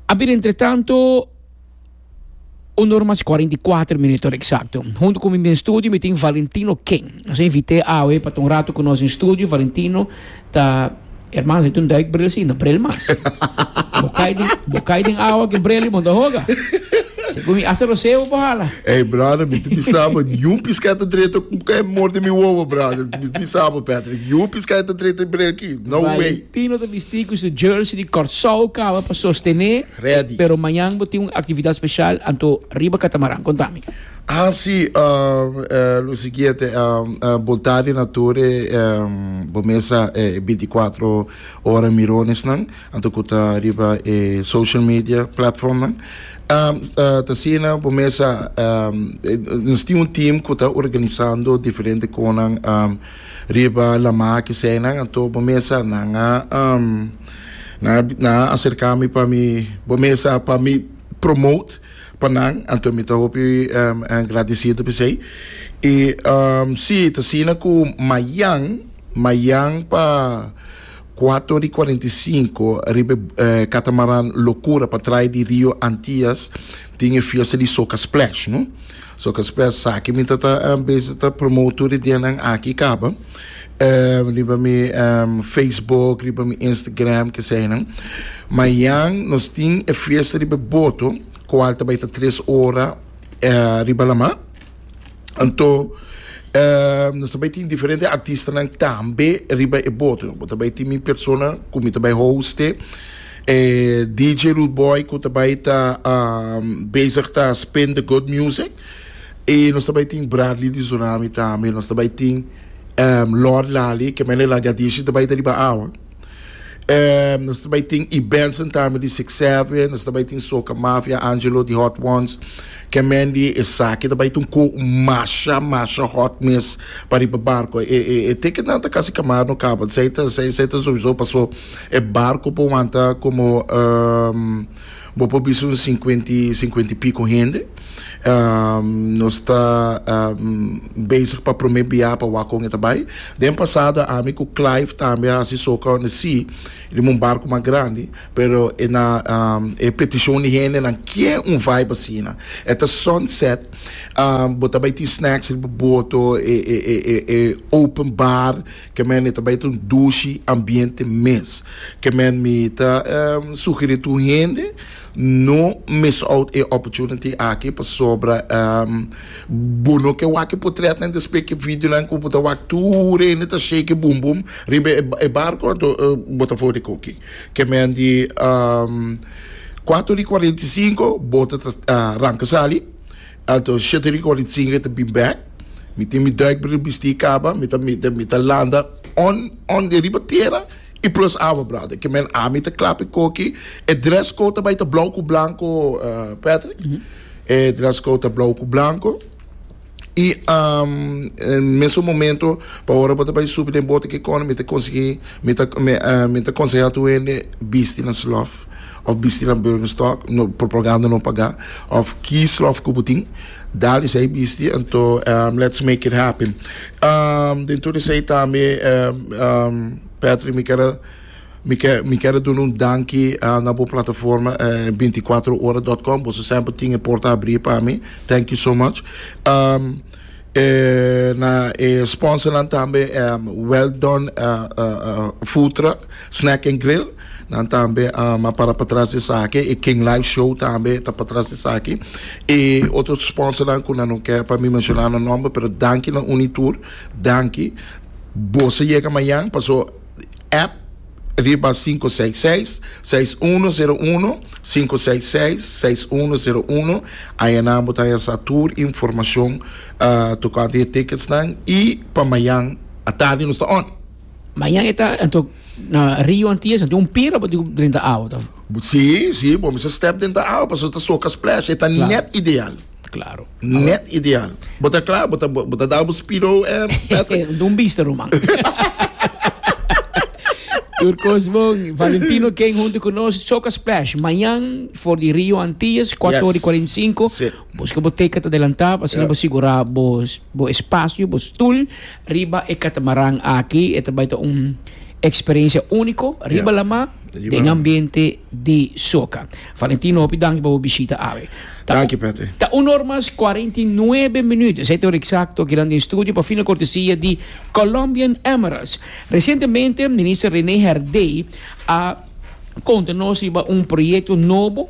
Speaker 5: A bira entretanto. Un ora mas 44 minuut ora exacto. Hunto cu mi den studio mi tin Valentino King. Nos a invité awe pa ta un rato cu nos den studio. Valentino ta, hermano, si ta un duikbril si, no bril mas. Bo cay den, bo cay den awa cu bril y bo no ta hoga. Segun mi, hasta roseo bo por hala.
Speaker 11: Ey, brother, mi ta bisa bo, niun pisca ta drenta cu cay morde mi wowo, brother. Mi ta bisa bo, Patrick, niun pisca ta drenta e bril aki. No way.
Speaker 5: Valentino ta bisti cu su jersey di Corsou caba pa sostene.
Speaker 11: Ready.
Speaker 5: Pero mañan bo tin un actividad special anto riba catamaran. Conta mi.
Speaker 11: Ah si, lo siguiente, bolta di nature bo mesa e 24 ora mironesnan, anto cu ta riba e social media platformnan. Ta asina bo mesa, nos tin un team cu ta organisando diferente conan riba lama keseinan, anto bo mesa nan a Nan a acerca mi pa mi bo mesa pa mi promote pa nan, anto mi ta hopi gradecido p'esey. Y si, ta asina cu mayan, mayan pa cuatro y cuarenta y cinco riba e catamaran Locura pa trae di Rio Antillas tin e fiesta di Soca Splash, no. Soca Splash sa ki mi ta ta bezig ta promote tur e dianan aki kaba riba mi Facebook, riba mi Instagram keseinan. Mayan nos tin e fiesta riba e boto kual ta bai ta tres ora riba lama. Anto nos ta bai tin diferente artistanan tambe riba e boto. Bo ta bai tin mi persona ku mi ta bai hoste, e DJ Rude Boy ku ta bai ta bezig ta spin the good music. I nos ta bai tin Bradley di Tsunami tambe. Nos ta bai tin Lord Lali, ke mene Lagadishi ta bai ta riba awa. Nos ta bai tin E Benson tambe di Six Seven, nos ta bai tin Soca Mafia, Angelo di Hot Ones, Kemen di esaki ta bai ta un ko masha masha hot mes pa riba barco. E e e ticketnan ta casi camar no caba, esei ta esei esei ta sowieso paso e barco por wanta como bo por bisa un cincuenta y cincuenta y pico hende. Nos ta bezig pa prome bia pa wak kon e ta bai. Den pasado ami ku Clive tambe a hasi soka on the sea riba un barku mas grandi, pero e na e petishon di hendenan ke un vibe asina. E ta sunset, bo ta bai tin snacks riba boto, e e e e e open bar, ke men e ta bai ta un dushi ambiente mes. Ke men mi ta sugeri tur hende. No miss out e opportunity aki pasobra bo no ke wak e potretnan despues ke videonan ku bo ta wak tur hende ta shake e bum bum riba e barko anto bo ta for di koki. Ke men di kuater di kuarenta i sinku boto ta ranka sali anto shete di kuarenta i sinku e ta bin bek mi tin mi duikbril bisti kaba mi ta mi ta landa on on riba tera. I plus awa brother. Ke men ami ta klap e koki. E dress code ta bai ta blauw ku blanco Patrick. E dress code ta blauw ku blanco. I en mesun momento pa ora bo ta bai subi den bote ke kono mi ta konsegui mi ta mi ta konseha tur hende bisti nan slof of bisti nan Birkenstock no propaganda no paga of ki slof ku bo tin dal esei bisti anto let's make it happen. Den tur esei tambe Patrick mi ker a mi ker mi ker a duna un danki na bo plataforma binticuatro ora dot com boso semper tin e porta abri pa mi thank you so much na e sponsornan tambe well done food truck snack and grill nan tambe a para patras di esaki e king live show tambe ta patras di esaki e otro sponsornan ku nan no ke pa mi menshona nan nomber pero danki na uni tur danki. Boso yega mañan paso app riba 566 6101 566 6101 ayanan bo ta haya sa tur informacion tocante e ticketsnan y pa mañan atardi nos ta on.
Speaker 5: Mañan e ta anto na Rio Antillas anto un pira bo tin ku drenta awa ta.
Speaker 11: Si si bo mester step denter awa pasobra ta soca splash e ta net ideal.
Speaker 5: Claro.
Speaker 11: Net ideal. Bo ta kla? Bo ta, bo ta dal bo speedo, eh, Patrick?
Speaker 5: Dun bista, ruman. Tur kos bon. Valentino King hunto ku nos. Soca Splash. Mañan for di Rio Antillas, 4 ora y 45.
Speaker 11: Sí.
Speaker 5: Buska bo ticket adelantá, pa asina bo sigurá bo, bo espacio, bo stoel riba e katamaran aki. E ta bai ta un experiencia único riba lamá den ambiente di soca. Valentino, hopi danki pa bo bishita awe.
Speaker 11: Ta, Danki, Patrick.
Speaker 5: Ta un or mas 49 minuut. Esei ta ora exacto akinan den studio pa fina cortesia di Colombian Emeralds. Recientemente, Minister Rene Herdé a conta nos riba un proyecto nobo,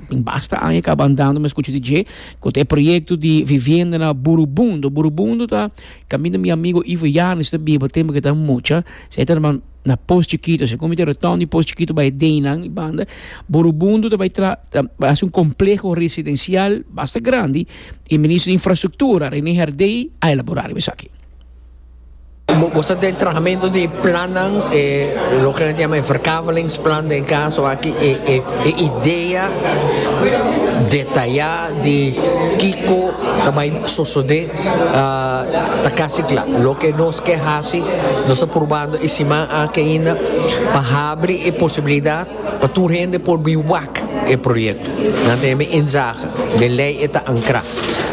Speaker 5: tin basta aña caba andando, mi a scucha di dje, cu ta e proyecto di vivienda na Burubundo. Burubundo ta caminda mi amigo Ivo Janes ta biba tempo cu e ta mucha. Esei ta na Pos Chikito, segun mi ta retorno di Pos Chikito bai Deinan i banda, Burubundo ta bai tra ta bai hasi un kompleho residensial basta grandi i Minister di Infrastruktura Rene Herdé a elaborá riba esaki.
Speaker 12: Bo sa den trahamentu di plannan, e loke nan ta yama e verkavelingsplan den kaso aki e e e idea detayá di kiko ta bai sosodé. Ta kasi kla. Loke nos ke hasi, nos ta purbando e siman aki ainda pa habri e posibilidat pa tur hende por bin wak e proyekto. Nan ta yama inzage. Den lei e ta ankrá.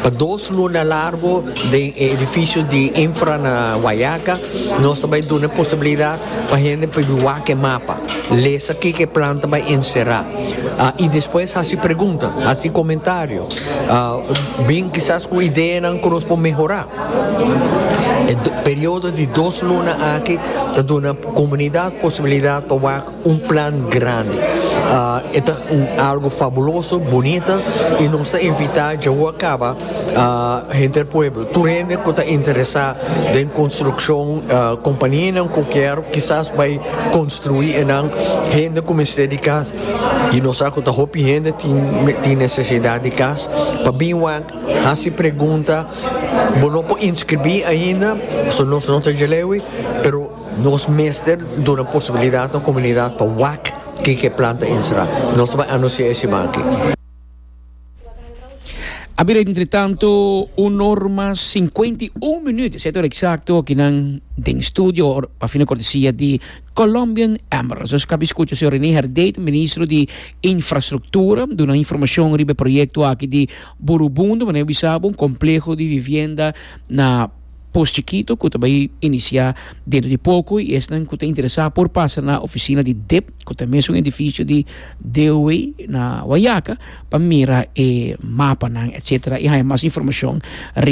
Speaker 12: Pa dos luna largo den e edificio di Infra na Wayaca nos ta bay duna e posibilidad pa hende pa bin wak e mapa, lesa kiko e plan ta bay encera y despues haci pregunta, haci comentario, bin kisas cu ideanan cu nos por mehora. E periodo di dos luna aki ta duna comunidad posibilidad pa wak un plan grandi. E ta un algo fabuloso, bunita y nos ta invita djawo a caba henter pueblo, tur hende cu ta interesa den construccion, companianan cu kier kisas bay construi enan, hende cu mester di cas y nos sa cu ta hopi hende tin necesidad di cas pa bin wak. Hasi pregunta, bo no por inscribí ainda, pasobra nos no ta djelewi, pero nos mester duna posibilidad na comunidad pa wak kiko e plan ta ensera. Nos ta bai anuncia e siman aki.
Speaker 5: A bira entretanto un or mas 51 minuut, esei ta ora exacto akinan den studio pa fina cortesia di Colombian Emeralds. Nos kabi skucha señor René Herdé, ministro di Infrastruktura, duna informashon riba e proyekto aki di Burubundo, manera bisa bo, un kompleho di vivienda na Pos Chikito ku ta bai inisiá dentro di poko i esnan ku ta interesá por pasa na ofisina di dip, ku ta mesun edifisio di DOW na Wayaca, pa mira e mapanan etcetera i haña mas informashon riba.